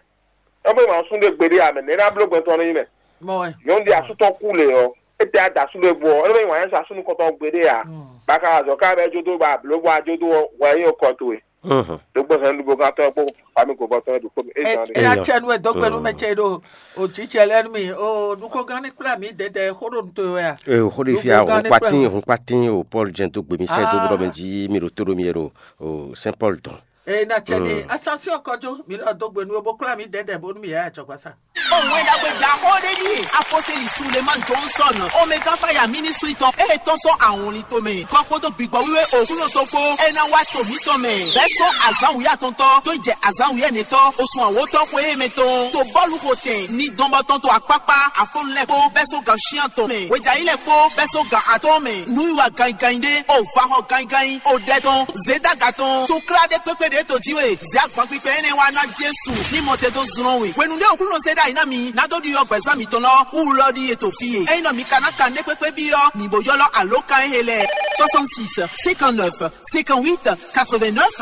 Ɛbɛ ma sun de gbe de ya mɛ. Nɛ na blo gbɛtɔ ne yi mɛ. Mɔ wɛ. Yɔn de atutɔ ku le ɔ. Ete adasu le bɔ. Ɛdɛ bɛ yi ma yɛn sa sunu kɔtɔ gbe de ya. Mm. Baka azɔ ka bɛ jodo ba blo bɔ ajodo wɔ yɛ kɔ to e. Mhm. Ɖokpó hɛn ɖokpó gán tɔn kpó fami gǒgbɔ tɔn ɖokpó mi e zan ɖe. Eya Eyɔ. Cɛ nu wɛ dɔgbe nu mɛ cɛ ɖo o jijɛ lɛ nu mi o ɖokpó gán ní kplá mi dɛdɛ xó ɖo nu to wɛ a? Ee, xó ɖe fia Ɖokpó gán ní kplá hunkpatín mi. Hunkpatín o Paul jɛn dó gbe mi sɛ dó bó ɖɔ mɛ Ah. Jí mi ɖo tó ɖo mi yɛ ɖo o Saint Paul dɔn. Ee na cɛ ni Mm. Ascension kɔjó mi lɔ dó gbe nu o bó kplá mi dɛdɛ bónú mi yɛ ajɔgbasa. Òun ẹ̀dàgbé dà xó ɖé ní aposteli Suleman Johnson Omega Fire Ministry tɔn e tɔn sɔn ahɔnlin tomɛ kɔ kpódó gbígbɔ wíwé òkúlò tó kpó é ná wá to mǐtɔn mɛ bɛ́ sɔ́ azǎn wǔyá tɔntɔ́ tó jɛ azǎn wǔyá nɛtɔ́ osun àwòtɔ́ xwé mɛ tɔn to bɔ́lu xo tɛn ní dɔnbɔ tɔn to akpákpá afɔnu lɛ́ɛ kpó bɛ́ sɔ́ gan shián tɔn mɛ hwejayí lɛ́ɛ kpó bɛ́ sɔ́ gan atɔ́ɔ́n mɛ nǔwiwa ganyiganyi ɖé o vahɔ ganyiganyi o ɖɛ tɔn zědaga tɔn tó klá ɖé kpékpé ɖě to jí we. Zě agban kpikpɛ énɛ́ wá ná Jesu ní mɔ te dó zlɔ́n we. Hwenu ɖé Aklúnɔ zé ɖ'ayǐ ná mi ná dó ɖiɖɔ gbɛ̌zán mitɔn lɔ wú lɔ ɖíe to fí e. Ényí nɔ mi ka ná kan nɛ́ kpékpé byɔ́ mǐ bó ylɔ́ alǒkan e he lɛ́ɛ soixante-six cinquante-neuf cinquante-huit quatre-vingt-neuf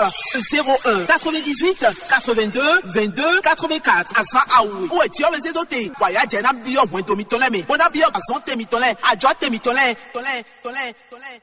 zéro un quatre-vingt-dix-huit quatre-vingt-deux vingt-deux quatre-vingt-quatre. Azǎn awu wɛ jǐ ɔ́ wɛ zé dó te, bɔ ayǎ jɛ ná byɔ́ hwɛndo mitɔn lɛ́ɛ mɛ, bó ná byɔ́ azɔ̌ te mitɔn lɛ́ɛ, ajɔ̌ te mitɔn lɛ́ɛ, tɔn lɛ́ɛ, tɔn lɛ́ɛ, tɔn lɛ́ɛ.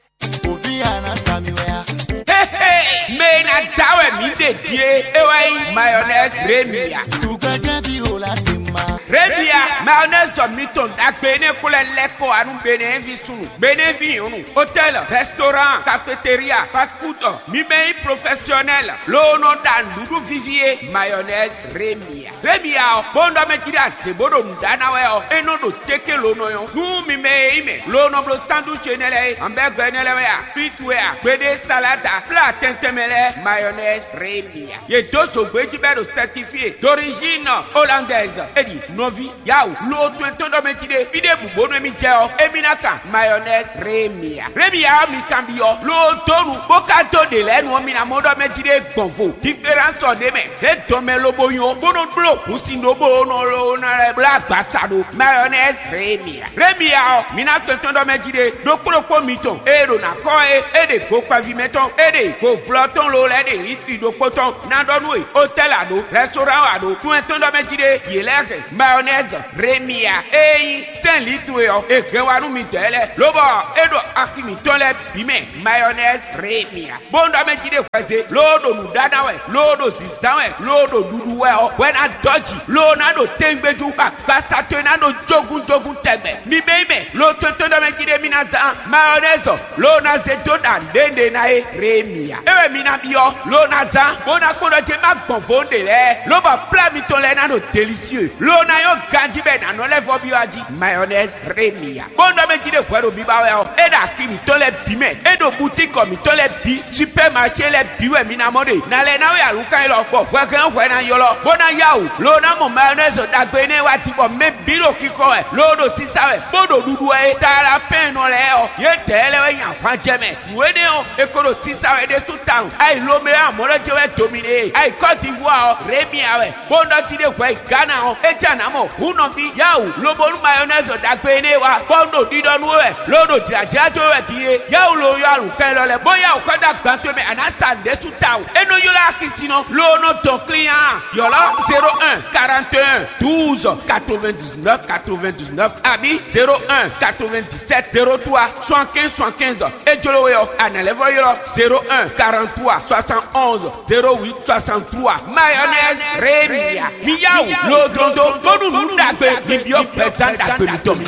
Ovi ana sami wɛ a? Hehe, mɛ e ná da wɛ mǐ ɖe din é, é wɛ nyí mayonnaise Remia. Tugɛjɛ bi o la ti ma. Remia, mayonnaise jɔ mitɔn ɖagbe énɛ́ ko lɛ́ lɛ́ kɔ wá nú Benɛ́ɛvi súnnu, Benɛ́vi nyɔ̌nu, hôtel, restaurant, cafétéria, fast food, mi mɛ nyí professionnel, loo nɔ ɖa nǔɖuɖu vivi é, mayonnaise Remia. Remia ɔ́, bó nɔ ɖɔ mɛ jí ɖe azě bó ɖo nǔ ɖa ná wɛ ɔ́, é nɔ ɖo téké lo nɔ nyɔ́. Nú mi mɛ e nyí mɛ, lo nɔ bló sandwich énɛ́ lɛ́ɛ é, hamburger énɛ́ lɛ́ɛ wɛ a, frite wɛ a, gbeɖé salade, plat tɛntɛn mɛ lɛ́ɛ, mayonnaise Remia. Yě dó zǒgbé jí bɔ é ɖo certifié d'origine hollandaise. É ɖi nɔví, yawu, lo to e tɔn ɖɔ mɛ jí ɖe, fí ɖěbǔ bónú émí jɛ ɔ́, émí ná kan mayonnaise Mayonnaise Remia. Remia ɔ́ mi kanbyɔ́, ló dó nu, bó ka dó ɖe lɛ́ɛ nu ɔ́, mi ná mɔ ɖɔ mɛ jí ɖé gbɔn vo. Diferánsɔ ɖé mɛ, é dɔn mɛ lobo nyɔ, bó nɔ bló hǔn sin ɖó bó nɔ ló ná lɛ́ bló agbasa ɖó. Mayonnaise Remia. Remia ɔ́, mi ná tɔn tɔn ɖɔ mɛ jí ɖé, ɖokpó ɖokpó mitɔn, ée ɖo ná kɔ é, é ɖe go kpɛví mɛ tɔn, é ɖe go vlɔ tɔn lo lɛ́ɛ ɖe litri ɖokpó tɔn, ná ɖɔ nú we, hôtel a ɖó, restaurant a ɖó, tún ɛ tɔn ɖɔ mɛ jí ɖé, yě lɛ́ɛ hɛn. Mayonnaise Remia, ée nyí sɛ́n litru e ɔ́, è hɛn wá nú mi dɔ̌ lɛ́ɛ, lobɔ é ɖo axi mǐtɔn lɛ́ɛ bǐ mɛ. Mayonnaise Remia. Bó ɖɔ mɛ jí ɖé hwɛzé, loo ɖo nǔɖaɖa wɛ, loo ɖo zǐzán wɛ, loo ɖo ɖuɖu wɛ ɔ́, hwɛ ná dɔ́ jǐ, loo ná ɖo téngbéjú, agbasa towe ná ɖo jógúnjógún tɛgbɛ. Mi bɛ́ mɛ, loo tɔn tɔn ɖɔ mɛ jí ɖé mi ná zán mayɔnɛ́zɔ, loo ná zé dó ɖa nǔɖé ná é Remia. É wɛ mi ná byɔ́, loo ná zán, bó ná kpɔ́n ɖɔ jé má gbɔn vo ɖe lɛ́ɛ, lobɔ plá mitɔn lɛ́ɛ ná ɖo delicieux, loo ná nyɔ́ ganjí bɔ è nǎ nɔ lɛ́ vɔ́ byɔ́ jí. Mayonnaise Remia. Bó ɖɔ mɛ jí ɖé hwɛ ɖo biba wɛ ɔ́, é ɖo axi mǐtɔn lɛ́ɛ bǐ mɛ, é ɖo butíkɔ mǐtɔn lɛ́ɛ bǐ, supɛ́maṣé lɛ́ɛ bǐ wɛ mi ná mɔ ɖe. Nǎ lɛ́ ná wɛ alǔkan élɔ́, bɔ hwɛhɛn hwɛ ná ylɔ́, bó ná yá wǔ, loo ná mɔ mayɔnɛ́zɔ ɖagbe énɛ́ wá din, bɔ mɛ bǐ ɖo xixɔ wɛ, loo ɖo sisa wɛ, bó ɖo ɖuɖu wɛ é. Talapɛ́nnɔ lɛ́ɛ ɔ́, yědɛɛ lɛ́ɛ wɛ nyi ahwan jɛ mɛ. Nǔ énɛ́ ɔ́, è ko ɖo sisa wɛ ɖésú tawun. Ayi Lomeo amɔ̌ lɔ jɛ wɛ dominé. Ayi Kɔ́divuwa ɔ́, Remia wɛ. Bó nɔ jí ɖé hwɛ yi Gana ɔ́, é jɛ nǎ mɔ hǔn nɔví yáwǔ, lobo nú mayɔnɛ́zɔ ɖagbe énɛ́ wá, bɔ un ɖo ɖiɖɔ nú we wɛ, loo ɖo jlǎjlá dó we wɛ din é. Yáwǔ lo yɔ alǔkɛn lɔ lɛ́ɛ, bó yáwǔ xɔ dó agban towe mɛ, a nǎ sa nǔɖé sú tawun. É nɔ ylɔ́ axisínɔ, loo nɔ dɔn klín á. Ylɔ́ zéro un quarante et un douze quatre-vingt-dix-neuf quatre-vingt-dix-neuf abǐ zéro un quatre-vingt-dix-sept zéro trois soixante-quinze soixante-quinze. É jló we ɔ́, a nǎ lɛ́ vɔ́ ylɔ́ zéro un quarante-trois soixante-onze zéro huit soixante-trois. Mayonnaise Remia. Mi yá wǔ loo dlɔ́n dó, bónú nǔ ɖagbe mi byɔ́ gbɛzán ɖagbe mitɔn.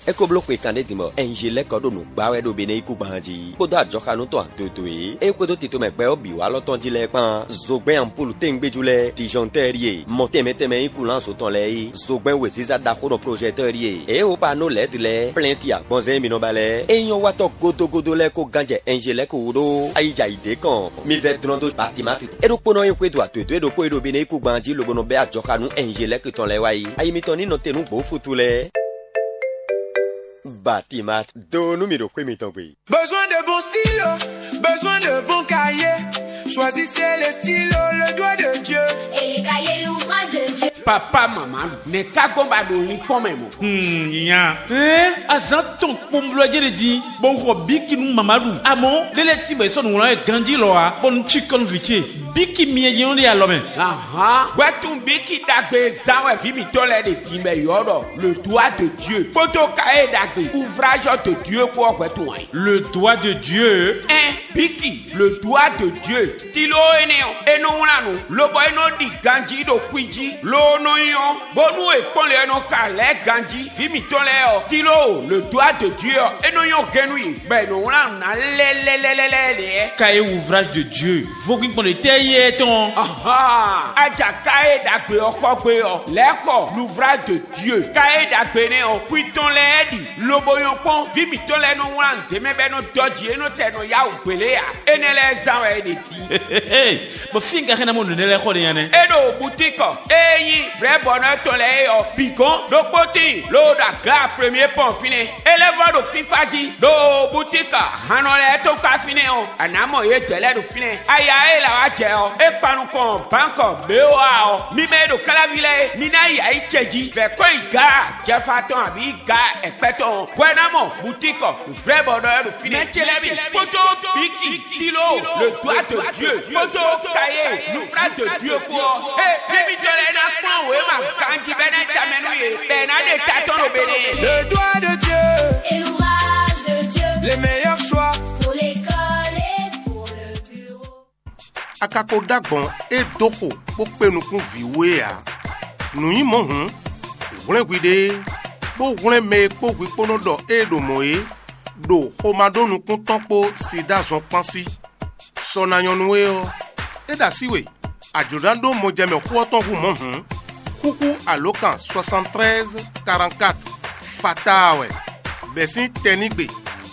É ko bló xwe kanɖé din bɔ Ɛnjelɛ́kɔ ɖo nǔ gbá wɛ ɖo Benɛ́yíkúgban jí, kpódó ajɔxanú tɔn adodo e é xwedó tito mɛ gbɛ ɔ́ bǐ wá lɔ tɔn jí lɛ́ɛ kpán. Zogbɛ́n ampúlu téŋgbéjú lɛ́ɛ, dijɔntɛ́ ɖíe, mɔ tɛnmɛ tɛnmɛ nyí kulánzo tɔn lɛ́ɛ é, zogbɛ́n wěziza ɖaxó nɔ plɔ́jɛtɔ́ ɖíe, é ó ba nɔ lɛ̌ lɛ́ɛ, plɛ́nti agbɔnzɛ́n mi nɔ ba lɛ́ɛ, é nyɔ́ watɔ́ gódógódó lɛ́ɛ kó gán jɛ Ɛnjelɛ́ku wú ɖó ayijɛ ayǐ ɖé kɔn. Mi vɛ́ dlɔ́n dó Batimati. É ɖokpónɔ e xwedó adwědwé ɖokpó e ɖo Benɛ́yíkúgban jí lobo nɔ bɛ́ ajɔxanú Ɛnjelɛ́ku tɔn lɛ́ɛ wá yi. Ayi mitɔn ní nɔ te nú gbǒ fútu lɛ́ɛ. Batimat, do nú mì ɖo xwé mitɔn gbe. Besoin de bons stylos, besoin de bons cahiers. Choisissez les stylos, le doigt de Dieu. Et les cahiers, l'ouvrage de Dieu. Papa mama, nɛ ká gbɔn ba ɖo linkpɔn mɛ mɔ. Hmm, nya. Hein, azan tɔn kpɔnblɔ jɛ de di, bɔ xɔ biki nu mama ɖu. Amɔ, lele ti bɛ sɔ nu wlan ganji lɔ wa, bɔ nu tsi kɔn vi ce. Biki mi yɛ yɛn de alɔ mɛ. Ahan, wɛtun biki dagbe zan wɛ vi mitɔ lɛ de din bɛ yɔ ɖɔ le doigt de Dieu. Kpoto ka e dagbe ouvrage de Dieu ko wɛtun wɛ. Le doigt de Dieu. Ɛn, biki, le doigt de Dieu. Stylo énɛ́ ɔ́, é nɔ wlán nǔ, lobɔ é nɔ ɖi ganjí ɖo xwi jí, loo nɔ nyɔ́, bónú è kpɔ́n lě ɔ́ nɔ ka lɛ̌ ganjí. Vǐ mǐtɔn lɛ́ɛ ɔ́, stylo, le doigt de Dieu ɔ́, é nɔ nyɔ́ gɛ́n nú yě, bɔ è nɔ wlán nǔ ná lɛ́lɛ́lɛ́lɛ́ lɛ́ɛ. Cahier ouvrage de Dieu, vodún gbɔn ɖe tɛ́ yé tɔn. Ahan, aja cahier ɖagbe ɔ́ xɔ gbe ɔ́, lɛ̌ xɔ l'ouvrage de Dieu. Cahier ɖagbe nɛ́ ɔ́, xwi tɔn lɛ́ɛ ɖi, lobo nyɔ́ kpɔ́n, vǐ mǐtɔn lɛ́ɛ nɔ wlán nǔ ɖé mɛ bɔ é nɔ dɔ́ jǐ, é nɔ tɛ nɔ yá wǔ gbě lé ǎ. Énɛ́ lɛ́ɛ zán wɛ é ɖe. Bɔ fí un ka xɛ́ ná mɔ nǔ énɛ́ lɛ́ɛ xɔ ɖe nya nɛ́? É ɖo butíkɔ e nyí vrɛ̌bɔnɔ tɔn lɛ́ɛ é ɔ́, bǐ gɔ́n ɖokpó tíin loo ɖo aga premier pɔn fínɛ́. É lɛ́ vɔ́ ɖo fífá jí ɖo butíkɔ hannɔ lɛ́ɛ tɔn kpá fínɛ́ ɔ́, a nǎ mɔ yě dɛ̌ lɛ́ɛ ɖo fínɛ́. Aya e là wá jɛ ɔ́, é kpan nukɔn bǎnkɔ B O A ɔ́. Mi mɛ e ɖo káláví lɛ́ɛ é, mi ná yi ayǐ ce jí, vɛ̌ kɔ́ yi gǎ jɛfa tɔn abǐ gǎ ɛkpɛ́ tɔn ɔ́, hwɛ ná mɔ butíkɔ vrɛ̌bɔnɔ ɔ́ ɖo fínɛ́. Mɛ ce lɛ́ɛ mi kpódó bíkì, tilo, le doigt de Dieu, kpódó kayé, l'ouvrage de Dieu kpó ɔ́. Ée, mí mítɔn lɛ́ɛ ná kplɔ́n wěma ganjí bɔ é ná yi tamɛ nú yě, bɔ è nǎ ɖe ta tɔn ɖo Benɛ́. Le doigt de Dieu, et l'ouvrage de Dieu, les meilleurs choix pour l'école et pour le bureau. A ka ko ɖó agbɔ̌n e dó xo bó kpé nukún vǐ wú é ǎ. Nǔ nyí mɔ̌ hǔn, hwlɛ́nhwi ɖé, bó hwlɛ́n mɛ e kpó hwi kpó nɔ ɖɔ ée ɖo mɔ̌ é, ɖo xomá ɖó nukún tɔn kpó sida zɔn kpán sí. Sɔ ná nyɔ́ nú we ɔ́, é ɖo así we, a jlǒ ná ɖó mɔjɛmɛ xó ɔ́ tɔn hú mɔ̌ hǔn, xúxú alǒkan soixante-treize quarante-quatre fataa wɛ, bɛ̌ sín tɛnígbe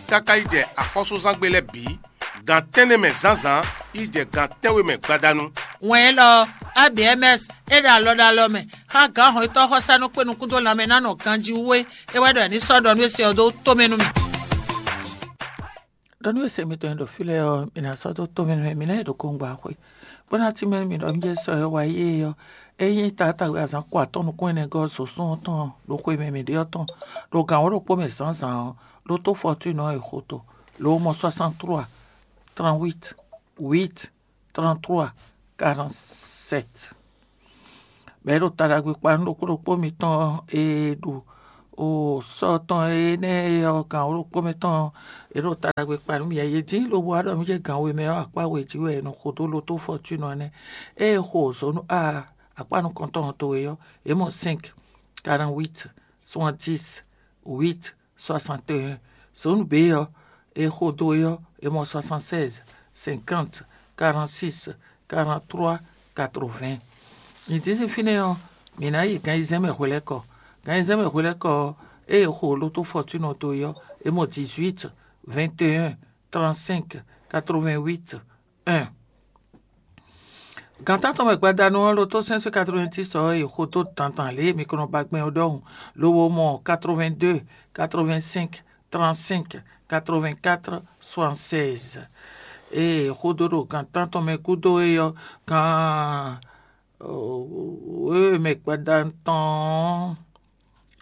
káká yi jɛ axɔ́súzángbe lɛ́ɛ bǐ, gan tɛ́nnɛ mɛ zǎnzǎn yi jɛ gan tɛ́nwe mɛ gbadanu. Wɛn élɔ́ ɔ́, A B M S é ɖo alɔ ɖo alɔ mɛ, Xá gǎn hɔn e tɔ́ xɔsá nɔ kpé nukún dó lanmɛ ná nɔ ganjí wú é, é wɛ ɖɔ è ní sɔ́ ɖɔ nú é se ɔ́ dó tó mɛ nú mì. Ɖɔ nú e se mitɔn e ɖo fí lɛ́ɛ ɔ́, mi ná sɔ́ dó tó mɛ nú mì, mi ná yi ɖo kɔngba xwé, bó ná tínmɛ nú mì ɖɔ un jɛ sɔ e wá yi é ɔ́, é nyí taátagbe azǎn ko atɔ́ɔ́n nukún ɛnɛ gɔ́ zǒsún ɔ́ tɔn ɖo xwe mɛ mǐ ɖe ɔ́ tɔn, ɖo gǎn wǒ ɖokpó mɛ zǎnzǎn ɔ́, ɖó tó fɔtúnɔ ɔ́ e xo to, lo mɔ soixante-trois, trente-huit, huit, trente-trois, quarante-sept. Bɔ é ɖo ta ɖagbe kpa nú ɖokpó ɖokpó mitɔn e ɖo o sɔ́ tɔn énɛ́ ɔ́ gǎn wǒ ɖokpó mɛ tɔn ɔ́, é ɖo ta ɖagbe kpa nú mì. Yě dín lobo wá ɖɔ mì jɛ gǎn we mɛ ɔ́, akpá we jí wɛ è nɔ xo dó lotó fɔtúnɔ nɛ́. Ée è xo zǒnu a akpá nukɔntɔn towe ɔ́, é mɔ cinq, quarante-huit, soixante-dix, huit, soixante et un. Zǒnu B ɔ́, è xo dó é ɔ́, è mɔ soixante-seize, cinquante, quarante-six, quarante-trois, quatre-vingts. Nyǐ dín sín fínɛ́ ɔ́, mǐ ná yi gan ayizɛ́n mɛ hwelɛ́kɔ. Gan ayizɛ́n mɛ hwelɛ́kɔ ɔ́, ée è xo lotó fɔtúnɔ dó é ɔ́, è mɔ dix-huit, vingt et un, trente-cinq, quatre-vingt-huit, un. Gan tántɔn mɛ gbadanu ɔ́, lotó cinq cent quatre-vingt-dix ɔ́, è xo dó dandan lě e mi ko nɔ ba gbɛn ɔ́ ɖɔhun, lobo mɔ quatre-vingt-deux, quatre-vingt-cinq, trente-cinq, quatre-vingt-quatre, soixante-seize. Ée è xo dó ɖo gan tántɔn mɛ gúdo é ɔ́, gan wěwe mɛ gbadanu tɔn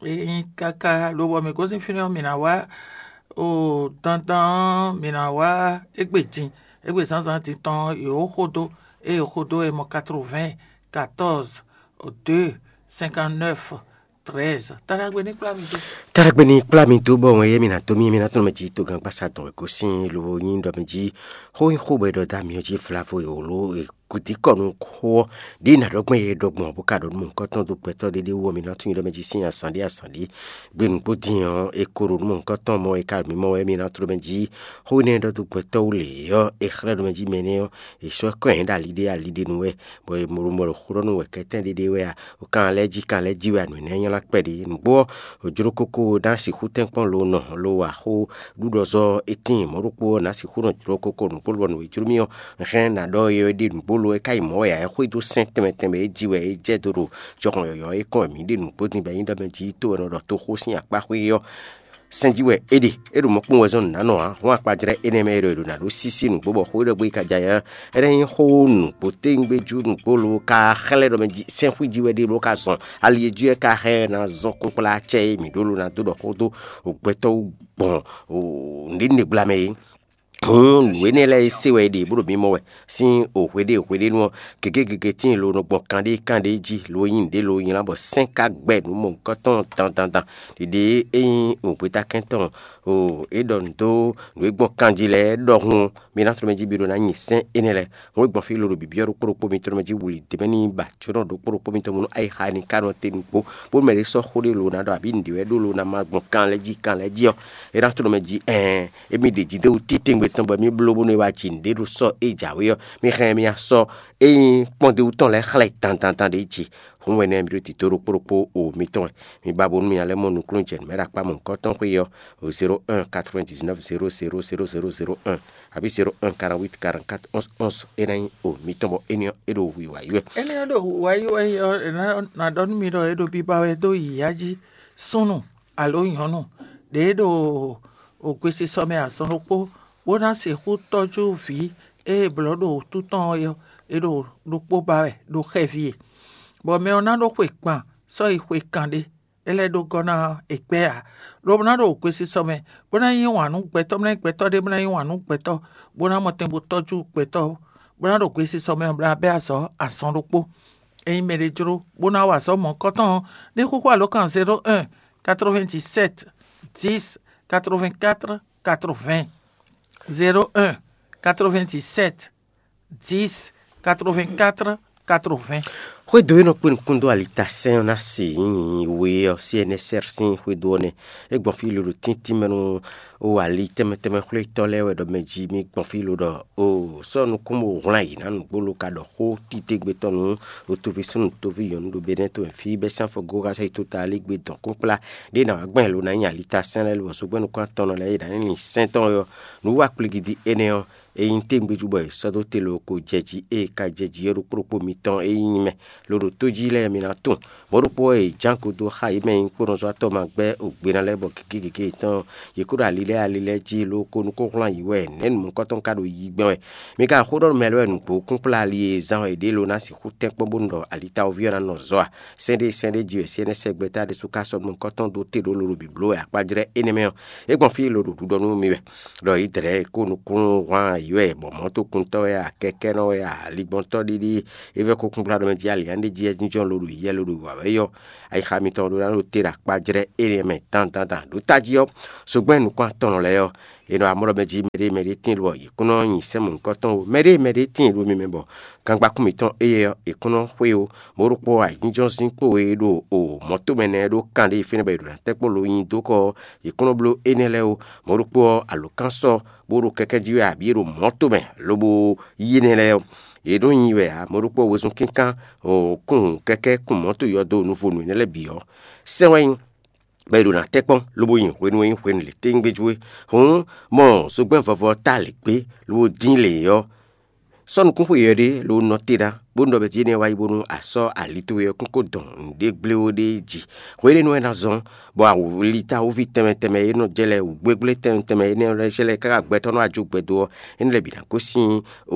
ɔ́, é nyí káká lobo mɛ gosín fínɛ́ ɔ́, mǐ ná wá o dandan ɔ́, mǐ ná wá égbé din, égbé zǎnzǎn din tɔn ɔ́, yě xo dó, ée è xo dó è mɔ quatre-vingts, quatorze, deux, cinquante-neuf, treize. Taɖagbe ní kplá mi dó. Taɖagbe ní kplá mi dó bɔ wɛn yé mi ná dó mì, mi ná tɔn mɛ jí togán gbasa dɔn wɛ gosín lobo nyí ɖɔ mɛ jí xó nyí xó bɔ è ɖɔ dó amyɔ jí vlavo e wǒ ló e kudikɔnu xó ɔ́ ɖě ná ɖɔ gbɔn yɛ ɖɔ gbɔn bó ka ɖɔ nú mɔ̌hunkɔtɔn dó gbɛtɔ́ ɖé ɖé wú ɔ́, mi ná tunwun ɖɔ mɛ jí sín azǎn ɖé azǎn ɖé. Gbe nǔgbó din ɔ́, è ko ɖo nú mɔ̌hunkɔtɔn mɔ è ka ɖo mǐmɔ wɛ, mi ná tló mɛ jí xó énɛ́ ɖɔ dó gbɛtɔ́ wú lě ɔ́, è xlɛ́ ɖɔ mɛ jí mɛ énɛ́ ɔ́, è sɔ́ kɔn ɛ ɖo ali ɖé ali ɖé nu wɛ, bɔ è mɔ ɖo mɔ ɖo xó ɖɔ nú wɛ kɛtɛ́n ɖé ɖé wɛ a, kan lɛ́ jí kan lɛ́ jí wɛ a, nǔ énɛ́ nylá kpɛɖé. Nǔgbó ɔ́, jló kókó ná sixú tɛ́nkpɔ́n lo nɔ lo wa xó ɖuɖɔzɔ́ é tíin mɔ̌ ɖokpó ɔ́, nǎ sixú nɔ jló kókó nǔgbó lɔ nǔ e jló mì ɔ́, hɛn ná ɖɔ é ɖe nǔgbó lo é ka yi mɔ̌ wɛ ǎ, é xwedó sɛ́n tɛnmɛ tɛnmɛ é jí wɛ é jɛ dó ɖo jɔhɔn yɔ̌yɔ́ é kɔn wɛ mǐ ɖe nǔgbó din bɔ é nyí ɖɔ mɛ jí tó wɛ nɔ ɖɔ toxó sín akpá xwé ɔ́ sɛn jí wɛ é ɖe. É ɖo mɔ̌ kpɔ́n wɛ zɔ́n nǔ ná nɔ ǎ, hɔn akpajlɛ́ énɛ́ mɛ é ɖɔ è ɖo nǎ ɖó sísí nǔgbó bɔ xó é ɖɔ gbé yi ka ja ɛ ɔ́, é ná nyí xó nǔgbó téwúngbéjú nǔgbó lo ka xlɛ́ ɖɔ mɛ jí sɛ́nxwí jí wɛ ɖé bó ka zɔn ali e jí wɛ ka hɛn ná zɔn kpókplá acɛ e mǐ ɖó lo ná dó ɖɔ xó dó gbɛtɔ́ wú gbɔn nǔɖé nɛgbla mɛ é. Hǔn nǔ énɛ́ lɛ́ɛ e se wɛ è ɖe bó ɖo mǐ mɔ wɛ sín o hweɖée hweɖénu ɔ́, gěgé gěgé tíin lo nɔ gbɔn kanɖé kanɖé jí lo nyí nǔɖé lo nylá bɔ sɛ́n ka gbɛ nǔ mɔ̌hunkɔtɔn dandandan. Ɖiɖe e nyí nǔgbétakɛn tɔn o é ɖɔ nǔ dó nǔ e gbɔn kanjí lɛ́ɛ ɖɔhun ɔ́, mi ná tló mɛ jí mi ɖó ná nyi sɛ́n énɛ́ lɛ́ɛ. Hǔn e gbɔn fí lo ɖo bǐbí ɔ́ ɖokpó ɖokpó mitɔn mɛ jí wuli dě mɛ ní ba jónɔ ɖokpó ɖokpó mitɔn mɔnú ayixa ní ka nɔ te nukpó, bónú mɛ ɖé sɔ́ xó ɖé lo ná ɖɔ abǐ nǔɖé wɛ ɖó lo ná ma gbɔn kan lɛ́ɛ jí kan lɛ́ɛ jí ɔ́, é ná tló mɛ jí ɛɛn émí ɖě jí dó wú titewungbe tɔn bɔ émí bló bónú é wá ji nǔɖé ɖo sɔ́ é jǎwe ɔ́, mi hɛn mi asɔ é nyí kpɔ́ndéwú tɔn lɛ́ɛ xlɛ́ dandandan ɖě jí. Hǔn wɛ nɛ́ mi ɖó tito ɖokpó ɖokpó o mitɔn wɛ. Mi ba bónú mi ná lɛ́ mɔ nukúnnú jɛ nǔ mɛ ɖo akpá mɔ̌hunkɔtɔn xwé ɔ́, o zéro un quatre-vingt-dix-neuf zéro zéro zéro zéro zéro un, abǐ zéro un quarante-huit quarante-quatre onze onze é ná nyí o mitɔn bɔ éní ɔ́ é ɖo hwǐ wǎ yi wɛ. Énɛ́ ɔ́ ɖo hwǐ wá yi wɛ ɔ́, è nǎ ná ɖɔ nú mi ɖɔ è ɖo biba wɛ dó yǐyá jí súnnu alo nyɔ̌nu ɖě ɖo ògbesisɔ mɛ azɔn ɖokpó, bó ná sixú tɔ́jú vǐ e è blɔ̌ ɖo wǔtu tɔn ɔ́, è ɖo ɖokpó ba wɛ ɖo xɛví e. Bɔ mɛ ɔ́ ná ɖó xwe gban sɔ́ yi xwe kanɖé, é lɛ́ ɖó gɔ́ ná è gbɛ́ ǎ, lobo ná ɖo ògbesisɔ mɛ, bó ná yí wǎn nú gbɛtɔ́, bó ná nyí gbɛtɔ́ ɖé, bó ná yí wǎn nú gbɛtɔ́, bó ná mɔ tɛn bó tɔ́jú gbɛtɔ́, bó ná ɖo gbesisɔ mɛ, bó ná bɛ́ azɔ̌ azɔn ɖokpó. Ényí mɛɖé jló bó ná wa azɔ̌ mɔ̌hunkɔtɔn ɔ́, ní xúxú alǒkan zéro un quatre-vingt-dix-sept dix quatre-vingt-quatre quatre-vingts, zéro un quatre-vingt-dix-sept dix quatre-vingt-quatre quatre-vingts. Xwédo e nɔ kpé nukún dó alitasɛn ɔ́ ná se nyǐnyí we ɔ́, C N S R sín xwédo ɔ́ nɛ́. É gbɔn fí lolo tíntín mɛ nú o ali tɛnmɛ tɛnmɛ xwlétɔ́ lɛ́ɛ wɛ ɖɔ mɛ jí mì gbɔn fí lo ɖɔ o sɔ́ nukún bó hwlán yě ná nǔgbó lo ka ɖɔ xó titégbe tɔn nú o toví súnnu toví nyɔ̌nu ɖo Benɛ́ tomɛ fí bɛ́ sín afɔgóxá sɔ́ yi tó ta lí gbé dɔn kpínkplá ɖé ná wá gbɛn lo ná nyi alitasɛn lɛ́ɛ lo bɔ zogbɛ́nukún atɔnnɔ lɛ́ɛ é ná nyi sɛ́n tɔn ɔ́. Nǔ wa kplígídí énɛ́ ɔ́, é nyí tégbéjú bɔ è sɔ́ dó te loko jɛ jí ée ka jɛ jí ɔ́ ɖokpó ɖokpó mitɔn e nyí mɛ loɖo tó jí lɛ́ɛ mi ná tunwun. Mɔ̌ ɖokpó ɔ́, è jǎn ko dó xá yě mɛ e nyí kpónɔzɔ́watɔ́ ma gbɛ́ ògbéná lɛ́ɛ bɔ gěgé gěgé yětɔn yě kó ɖo ali lɛ́ɛ ali lɛ́ɛ jí loko nukúnhwlán yǐ wɛ nɛ̌ nu mɔ̌kɔ́tɔn ka ɖo yi gbɛn wɛ. Mi ka xó ɖɔ nú mɛ lɛ́ɛ wɛ nǔgbó kúnkplá ali e zán wɛ yě ɖe lo ná sixú tɛ́nkpɔ́n bónú ɖɔ alitawɔví ɔ́ ná nɔ zɔ a? Sɛ́n ɖé sɛ́n ɖé jí wɛ sɛ́n énɛ́ sɛ́ gbɛtɔ́ ɖésú ka sɔ́ nukɔntɔn dó te ɖó lolo bǐbló wɛ akpá jlɛ́ énɛ́ mɛ ɔ́, é gbɔn fí lodǒ ɖuɖɔ nú mi wɛ. Ɖɔ Izlayɛ́li kó nukúnnú hwan yǐ wɛ, bɔ mɔ̌tokuntɔ́ wɛ a, kɛkɛ́nɔ wɛ a, aligbɔntɔ́ ɖiɖi, é vɛ́ kókúngbláɖɔmɛ jí ali ǎ ɖé jí wɛ jínjɔ́n lodǒ yɛ lodǒ wǎ wɛ yɔ. Ayixa mitɔn ɖó ná ɖo te ɖo akpá jlɛ́ énɛ́ mɛ dandan ɖo tají ɔ́, sogbɛ́n nukún atɔnnɔ lɛ́ɛ ɔ́, è nɔ amlɔ mɛ jí mɛɖé mɛɖé tíin ɖo yě kún nɔ nyi sɛ́n mɔ̌hunkɔtɔn ó. Mɛɖé mɛɖé tíin ɖo mi mɛ bɔ gangbakún mǐtɔn éyɛ́ ɔ́, è kún nɔ xwé ó. Mɔ̌ ɖokpó ayǐjínjɔ́n zín kpó e ɖo o mɔ̌ tomɛ nɛ́ ɖó kan ɖé fínɛ́ bɔ è ɖo ná tɛ́ kpó lo nyi dó kɔ ɔ́, è kún nɔ bló énɛ́ lɛ́ɛ ó. Mɔ̌ ɖokpó ɔ́, alǒkan sɔ́ bó ɖo kɛ́kɛ́ jí wɛ abǐ è ɖo mɔ̌ tomɛ lobo yí énɛ́ lɛ́ɛ ɔ́, yě ɖó nyi wɛ ǎ. Mɔ̌ ɖokpó ɔ́, wezun kínkán kún kɛ́kɛ́ kún mɔ̌ to yɔdo nuvonu énɛ́ lɛ́ɛ bǐ ɔ́, sɛ́n wɛ nyí bɔ è ɖo ná tɛ́ kpɔ́n lobo nyi hwenu e nyí hwenu lě téŋgbéjú é. Hǔn mɔ zogbɛ́n vɔvɔ ta lě gbé lobo dín lě ɔ́, sɔ́ nukúnxwe yɔ̌yɔ́ ɖé lobo nɔ te ná, bónú ɖɔ mɛ jí énɛ́ wá yi bónú a sɔ́ ali towe ɔ́ kún ko dɔn nǔɖé gblé ó ɖéé jí. Hweɖénu wɛ ná zɔ́n, bɔ awǔlítawúví tɛnmɛ tɛnmɛ e nɔ jɛ lɛ́ɛ, wǔgblégblétɛnmɛ tɛnmɛ énɛ́ lɛ́ɛ jɛ lɛ́ɛ káká gbɛtɔ́ nɔ wá jó gbɛdo ɔ́, énɛ́ lɛ́ɛ bǐ ná gosín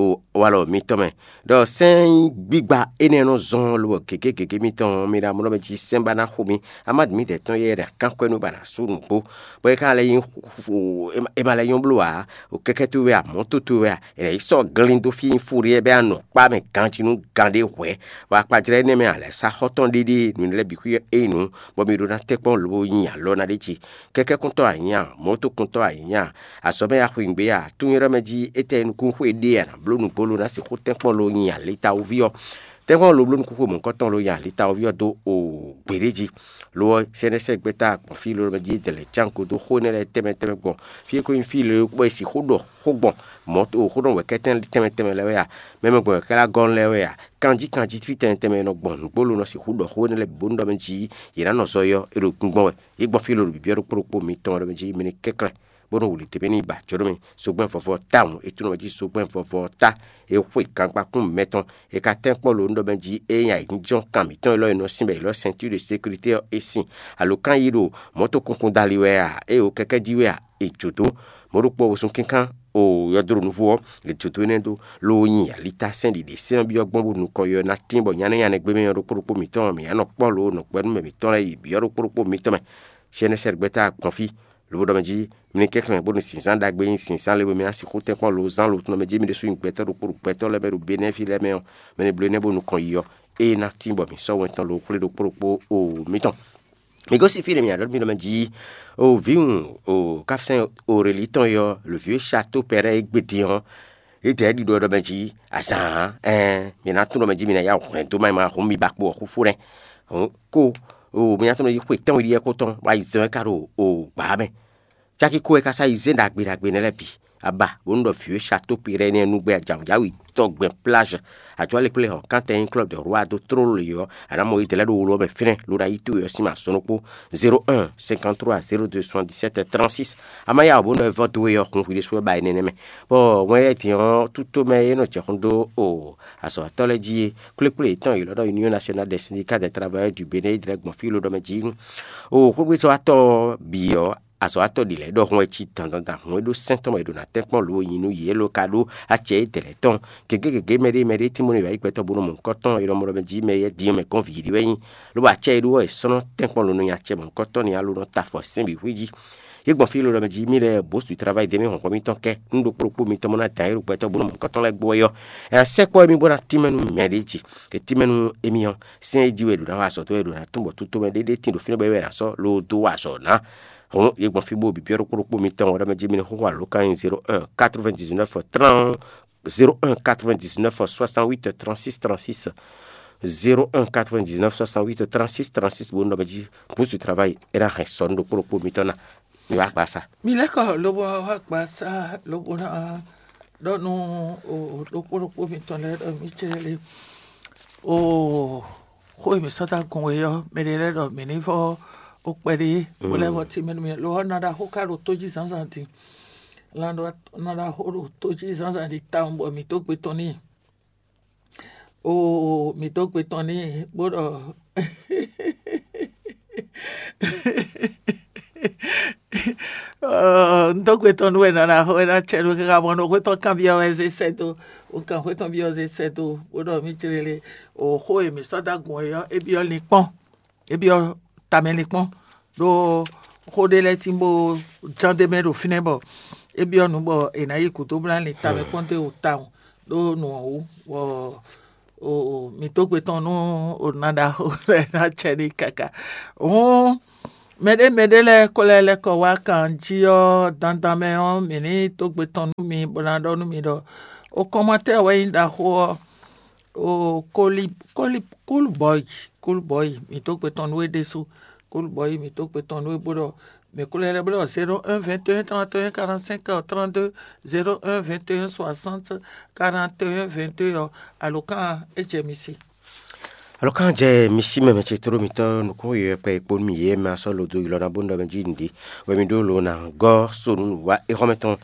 walɔ mitɔn mɛ. Ɖɔ sɛ́n gbígba énɛ́ nɔ zɔ́n lobɔ gěgé gěgé mitɔn ɔ́, mi ɖo amlɔ mɛ jí sɛ́n ba ná xo mi. Amádi mǐdɛɛ tɔn yɛ ɖo akánkwɛ́ nú ba ná sú nǔgbó, bɔ é ka lɛ́ nyí, é ma lɛ́ nyɔ́ bló ǎ. O kɛ́kɛ́ towe wɛ a, mɔ̌ towe wɛ a, è nǎ yi sɔ́ glín dó fí e nyí Fuɖéɛ bɔ é ná nɔ kpá mɛ ganjí nú gan ɖé hwɛ̌, bɔ akpajlɛ́ énɛ́ mɛ a lɛ̌ sá xɔ́ tɔn ɖéɖé nǔ lɛ́ɛ bǐ xwí ɔ́ é nyí nǔ, bɔ mi ɖó ná tɛ́ kpɔ́n lobo nyi alɔ ná ɖ'é jí. Kɛ́kɛ́kúntɔ́ a nyǐ a, mɔ̌tokúntɔ́ a nyǐ a, azɔ̌ mɛ a xweyǐgbe a, tún ylɔ́ mɛ jí étɛ́ e nukún xwe ɖe a nǎ bló nǔgbó lo ná sixú tɛ́nkpɔ́n lo nyi alitawoví ɔ́. Tɛ́nkpɔ́n lo bló nukún xwe mɔ̌hunkɔtɔn lo nyi alitawoví ɔ́ dó o gběɖé jí. Lo ɔ́, sɛ́nɛ́sɛ́ gbɛ́ta gbɔn fí lo mɛ jí dɛ̌ lɛ́ cán gǔdo xó énɛ́ lɛ́ɛ tɛnmɛ tɛnmɛ gbɔn fí e ko nyí fí lě kpó e sixú ɖɔ xó gbɔn mɔ̌ o xó ɖɔ wɛ̌kɛ́tɛn tɛnmɛ tɛnmɛ lɛ́ɛ wɛ a, mɛ mɛ gbɔn wɛ̌kɛ́ lɛ́ɛ gɔ́ lɛ́ɛ wɛ a, kanjí kanjí fí tɛnmɛ tɛnmɛ e nɔ gbɔn nǔgbó lo nɔ sixú ɖɔ xó énɛ́ lɛ́ɛ bǐ bónú ɖɔ mɛ jí yě ná nɔ zɔ é ɔ́, é ɖo gbíngbɔ́n wɛ. Yě gbɔn fí lo ɖo bǐbí ɔ́ ɖokpó ɖokpó mitɔn ɔ́ ɖɔ mɛ jí mi ní kɛ́nklɛ́n bónú wǔ lǐ tɛ́nmɛ ní yi ba jǒ nú mi. Zogbɛ́n vɔvɔ tawun é tunɔ mɛ jí zogbɛ́n vɔvɔ ta é xwe gangbakún mɛtɔn. È ka tɛ́nkpɔ́n lo nú ɖɔ mɛ jí é nyí ayǐjínjɔ́n kan mǐtɔn élɔ́ e nɔ sín bɔ è lɔ́ sɛntúr de sékurité ɔ́ é sin. Alǒkan yí ɖo mɔ̌to kunkun dali wɛ a, é o kɛkɛ́ jí wɛ a, è jǒ dó. Mɔ̌ ɖokpó ɔ́, wosún kínkán o yɔdóɖo nuvo ɔ́, è jǒ dó énɛ́ dó, loo nyi alitá sɛ́n ɖiɖe sɛ́n ɔ́ byɔ́ gbɔn bónú nukɔn yɔ ná tín bɔ nya énɛ́ nya nɛgbé mɛ ɔ́ ɖokpó ɖokpó mǐtɔn mǐ ná nɔ kpɔ́ lo nɔ gbɛ́númɛ mǐtɔn lɛ́ɛ yi byɔ́ ɖokpó ɖokpó mǐtɔn mɛ. Sɛ́nɛ́sɛ́ gbɛ́ta gbɔn fí lobo ɖɔ mɛ jí mi ní kɛnklɛ́n bónú zǐnzán ɖagbe e nyí zǐnzán le bo mi ná sixú tɛ́nkpɔ́n lo zán lo tɔn mɛ jí mi ɖésú nyí gbɛtɔ́ ɖokpó ɖo gbɛtɔ́ lɛ́ɛ mɛ ɖo Benɛ́ví lɛ́ɛ mɛ ɔ́, mɛ e bló énɛ́ bó nukɔn yi ɔ́, é ná tín bɔ mǐ sɔ́ wɛn tɔn lo xwlé ɖokpó ɖokpó o mǐtɔn. Mi gosín fí ɖě mi ná ɖɔ nú mì ɖɔ mɛ jí o vǐwun o káfínsɛ́n Orelí tɔn yɔ le vieux château pɛrɛ e gbe din ɔ́, é dɛ ɖiɖɔ ɖɔ mɛ jí azǎn ɛn mi ná tún ɖɔ mɛ jí mi ná yá hwlɛ̌n dó má ma hǔn mi ba kpo ɔ́ xúfú nɛ́. Ko o mi ná tún ɖɔ jí xwe tɛ́nwe ɖíe kó tɔn wá yi zɛ́n wɛ ká ɖo o gbǎ mɛ. Cákí kó wɛ ka sá yi zé ɖagbe ɖagbe nɛ́ lɛ́ɛ bǐ. Aba bónú ɖɔ vieux château péré nɛ́ nú gbɛ ajǎwǔjǎwǐ tɔgbɛn plage. Àjɔ alekplé hɔn kantɛ nyí club de roi dó tró le ɔ́, a nǎ mɔ yi dɛlɛ́ ɖo wolo ɔ́ mɛ fínɛ́ ló ɖo ayí towe ɔ́ sín ma sɔnukpó. Zéro un cinquante trois zéro deux soixante dix sept trente six. A ma yá wǒ bónú ɛ vɔ́ dó we ɔ́ hun hwi ɖésú wɛ ba énɛ́ mɛ. Bɔ wɛn yɛ din ɔ́ tútó mɛ é nɔ jɛ xún dó o azɔ̌watɔ́ lɛ́ɛ jí é. Kplékplé yětɔn yě lɔ ɖɔ Union Nationale des Syndicats des Travailleurs du Bénin é dlɛ́ gbɔn fí ló ɖɔ mɛ jí. O xwégbézɔ́watɔ́ bǐ ɔ́, azɔ̌watɔ́ ɖě lɛ́ɛ ɖɔhun wɛ cí dandandan hun e ɖó sɛ́n tɔn mɛ è ɖo ná tɛ́nkpɔ́n lǒ nyi nú yě ló ka ɖó acɛ e dɛ̌ lɛ́ɛ tɔn. Gěgé gěgé mɛɖé mɛɖé Timɔ́ɔ wǎ yi gbɛtɔ́ bó nɔ mɔ nukɔn tɔn e ɖɔ mɔ ɖɔ mɛ jí mɛ yɛ din mɛ gɔ́n vǐ ɖé wɛ nyí. Lobo acɛ e ɖó wɛ è sɔ́ nɔ tɛ́nkpɔ́n lǒ nɔ nyi acɛ mɔ nukɔn tɔn ní alo nɔ ta afɔ sɛ́n bǐ xwí jí. Yě gbɔn fí ló ɖɔ mɛ jí mì lɛ́ɛ bǒ su travayi dě mì hɔnhɔn mitɔn kɛ nú ɖokpó ɖokpó mitɔn mɔ ná dǎn é ɖo gbɛtɔ́ bó nɔ mɔ nukɔn tɔn lɛ́ɛ gbɔ wɛ ɔ́. Ɛ sɛ́kpɔ́ émí bó ná tínmɛ nú mɛ ɖě jí. È tínmɛ nú émí ɔ́, sɛ́n e jí wɛ è ɖǒ ná wa azɔ̌ dó wɛ è ɖǒ ná tún bɔ tútó mɛ ɖéɖé tín ɖo fínɛ́ bɔ é wɛ è nǎ sɔ́ loo dó wa azɔ̌ ná. Hǔn yě gbɔn fí bó bǐ byɔ́ ɖokpó ɖokpó mitɔn wɛ ɖɔ mɛ jí mi ní xóxó alǒkan nyi zéro un quatre-vingt-dix-neuf trente zéro un quatre-vingt-dix-neuf soixante-huit trente-six trente-six. Zéro un quatre-vingt-dix-neuf soixante-huit trente-six trente-six bó nɔ mɛ jí búsu travail é ná hɛn sɔ nú ɖokpó ɖokpó mitɔn ná. Mi wá gba sa. Mi lɛ́ kɔ lobo wá gba sa lobo ná ɖɔ nú o ɖokpó ɖokpó mitɔn lɛ́ɛ ɖɔ mi cɛ lé o xó e mi sɔ́ dó agun we ɔ́, mɛ ɖé lɛ́ɛ ɖɔ mǐ ní vɔ ó kpɛɖé bó lɛ́ vɔ tí mɛ nú mi lo ɔ́ ná ɖo axó ká ɖo tó jí zǎnzǎn din. Lan ɖó ná ɖo axó ɖo tó jí zǎnzǎn ɖi tawun bɔ mǐ dó gbe tɔn n'i. Oo, mǐ dó gbe tɔn n'i bó ɖɔ un dó gbe tɔn nú we nɔ ná xo é ná cɛ nú káká mɔ nú xwé tɔn kanbyɔ́ wɛ zé sɛ́ dó. Un kan xwé tɔn byɔ́ zé sɛ́ dó bó ɖɔ mí jlélé. O xó e mǐ sɔ́ dó agun ɔ́ é byɔ́ linkpɔ́n, é byɔ́ tamɛ linkpɔ́n ɖó xó ɖé lɛ́ɛ tín bó ján d'é mɛ ɖo fínɛ́ bɔ é byɔ́ nǔ bɔ è nǎ yi gǔdo bó ná lin tamɛ kpɔ́n dó e wò tawun ɖó nǔ ɔ́ wú bɔ mǐ dó gbe tɔn nú o ná ɖaxó lɛ́ɛ ná cɛ n'i káká. Hǔn mɛɖé mɛɖé lɛ́ɛ ko lɛ́ lɛ́ kɔ wá kan jí ɔ́, dandan mɛ ɔ́, mǐ ní dó gbe tɔn nú mi bó ná ɖɔ nú mi ɖɔ o kɔnmatɛ́ wɛ nyí ɖaxó ɔ́, o kólí kólí kúlbɔ́yi kúlbɔ́yi mǐ dó gbe tɔn nú é ɖésú. Kúlbɔ́yi mǐ dó gbe tɔn nú é bó ɖɔ mǐ kú lɛ́ lɛ́ bó ɖɔ zéro un vingt et un trente et un quarante-cinq trente-deux, zéro un vingt et un soixante quarante et un vingt-deux ɔ́, alǒkan é jɛ mi se. Alɔkán jɛ mi sí mɛ mɛ ce tló mitɔ́ nukún yɔ̌yɔ́ kpɛ e kpó nú mi yě mɛ asɔ́ lodo ylɔ́ ná bó nɔ mɛ jí nǔɖé wɛ mi ɖó lo ná gɔ́ so nú nǔwá éhɔ́mɛ tɔn.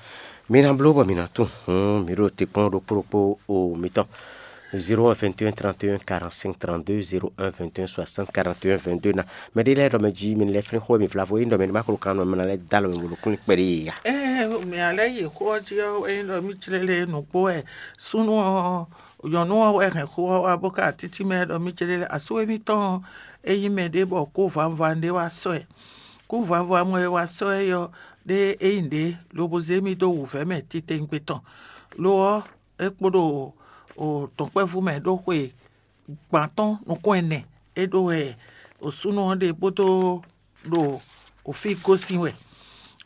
Mi ná bló bɔ mi ná tunwun hǔn mi ɖo te kpɔ́n ɖokpó ɖokpó o mitɔn. Zéro un vingt et un trente et un quarante-cinq trente-deux, zéro un vingt et un soixante quarante et un vingt-deux ná. Mɛ ɖé lɛ́ɛ ɖɔ mɛ jí mi lɛ́ flín xó mi vlavo é ɖɔ mɛ ní ma klo kan nɔ mɛ ná lɛ́ dó alɔ mi bolo kún kpɛɖé yě ya. Ɛɛ, mɛ alɛ yi xó ɔ́ jí ɔ́ é ɖɔ mí clélé nǔgbó wɛ súnú ɔ́ nyɔ̌nu ɔ́ wɛ hɛn xó ɔ́ wá bó ka títí mɛ ɖɔ mí céɖé lɛ́ɛ asú émítɔn ɔ́, é nyí mɛ ɖé bɔ kó vanvan ɖé wá sɔ́ ɛ. Kó vanvan mɔ e wá sɔ́ ɛ ɔ́ ɖé é nyí ɖě lobo zé mì dó wǔvɛ́ mɛ titewungbe tɔn. Lo ɔ́, é kpo ɖo dɔ̌nkpɛvú mɛ ɖó xwe gbǎn tɔn nukún ɛnɛ é ɖó wɛ súnnu ɔ́ ɖe bó dó ɖo fí gosín wɛ.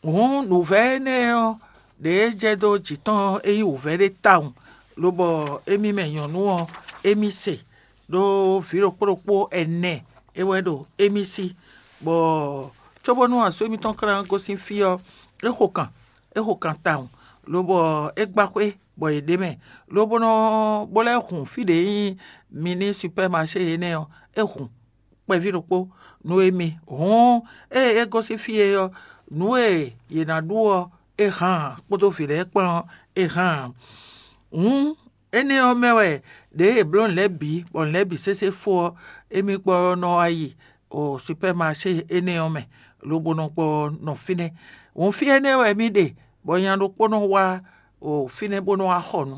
Hǔn nǔvɛ́ énɛ́ ɔ́, ɖě e jɛ dó jǐ tɔn ɔ́, é nyí wǔvɛ́ ɖé tawun, lobɔ émí mɛ nyɔ̌nu ɔ́, émí se, ɖó vǐ ɖokpó ɖokpó ɛnɛ é wɛ ɖo émí sí, bɔ cóbónú asú émítɔn ka ná gosín fí ɔ́, é xo kan, é xo kan tawun, lobɔ é gbá xwé bɔ yě ɖ'é mɛ, lobo nɔ bó lɛ́ hun fí ɖě nyí mini supɛ́maṣé énɛ́ ɔ́, é hun kpɛví ɖokpó nú émí. Hǔn ée é gosín fí e ɔ́, nǔ e yě ná ɖu ɔ́, é hán ǎ, kpódó vǐ lɛ́ɛ kpán ɔ́, é hán ǎ. Hǔn énɛ́ ɔ́ mɛ wɛ ɖěe è blǒ nǔ lɛ́ɛ bǐ, bɔ nǔ lɛ́ɛ bǐ sésé fó ɔ́, émí gbɔ ɔ́ nɔ wá yi o supɛ́maṣé énɛ́ ɔ́ mɛ, lobo nɔ gbɔ nɔ fínɛ́. Hǔn fí énɛ́ wɛ mì ɖe, bɔ nya ɖokpó nɔ wá o fínɛ́ bó nɔ wá xɔ nǔ.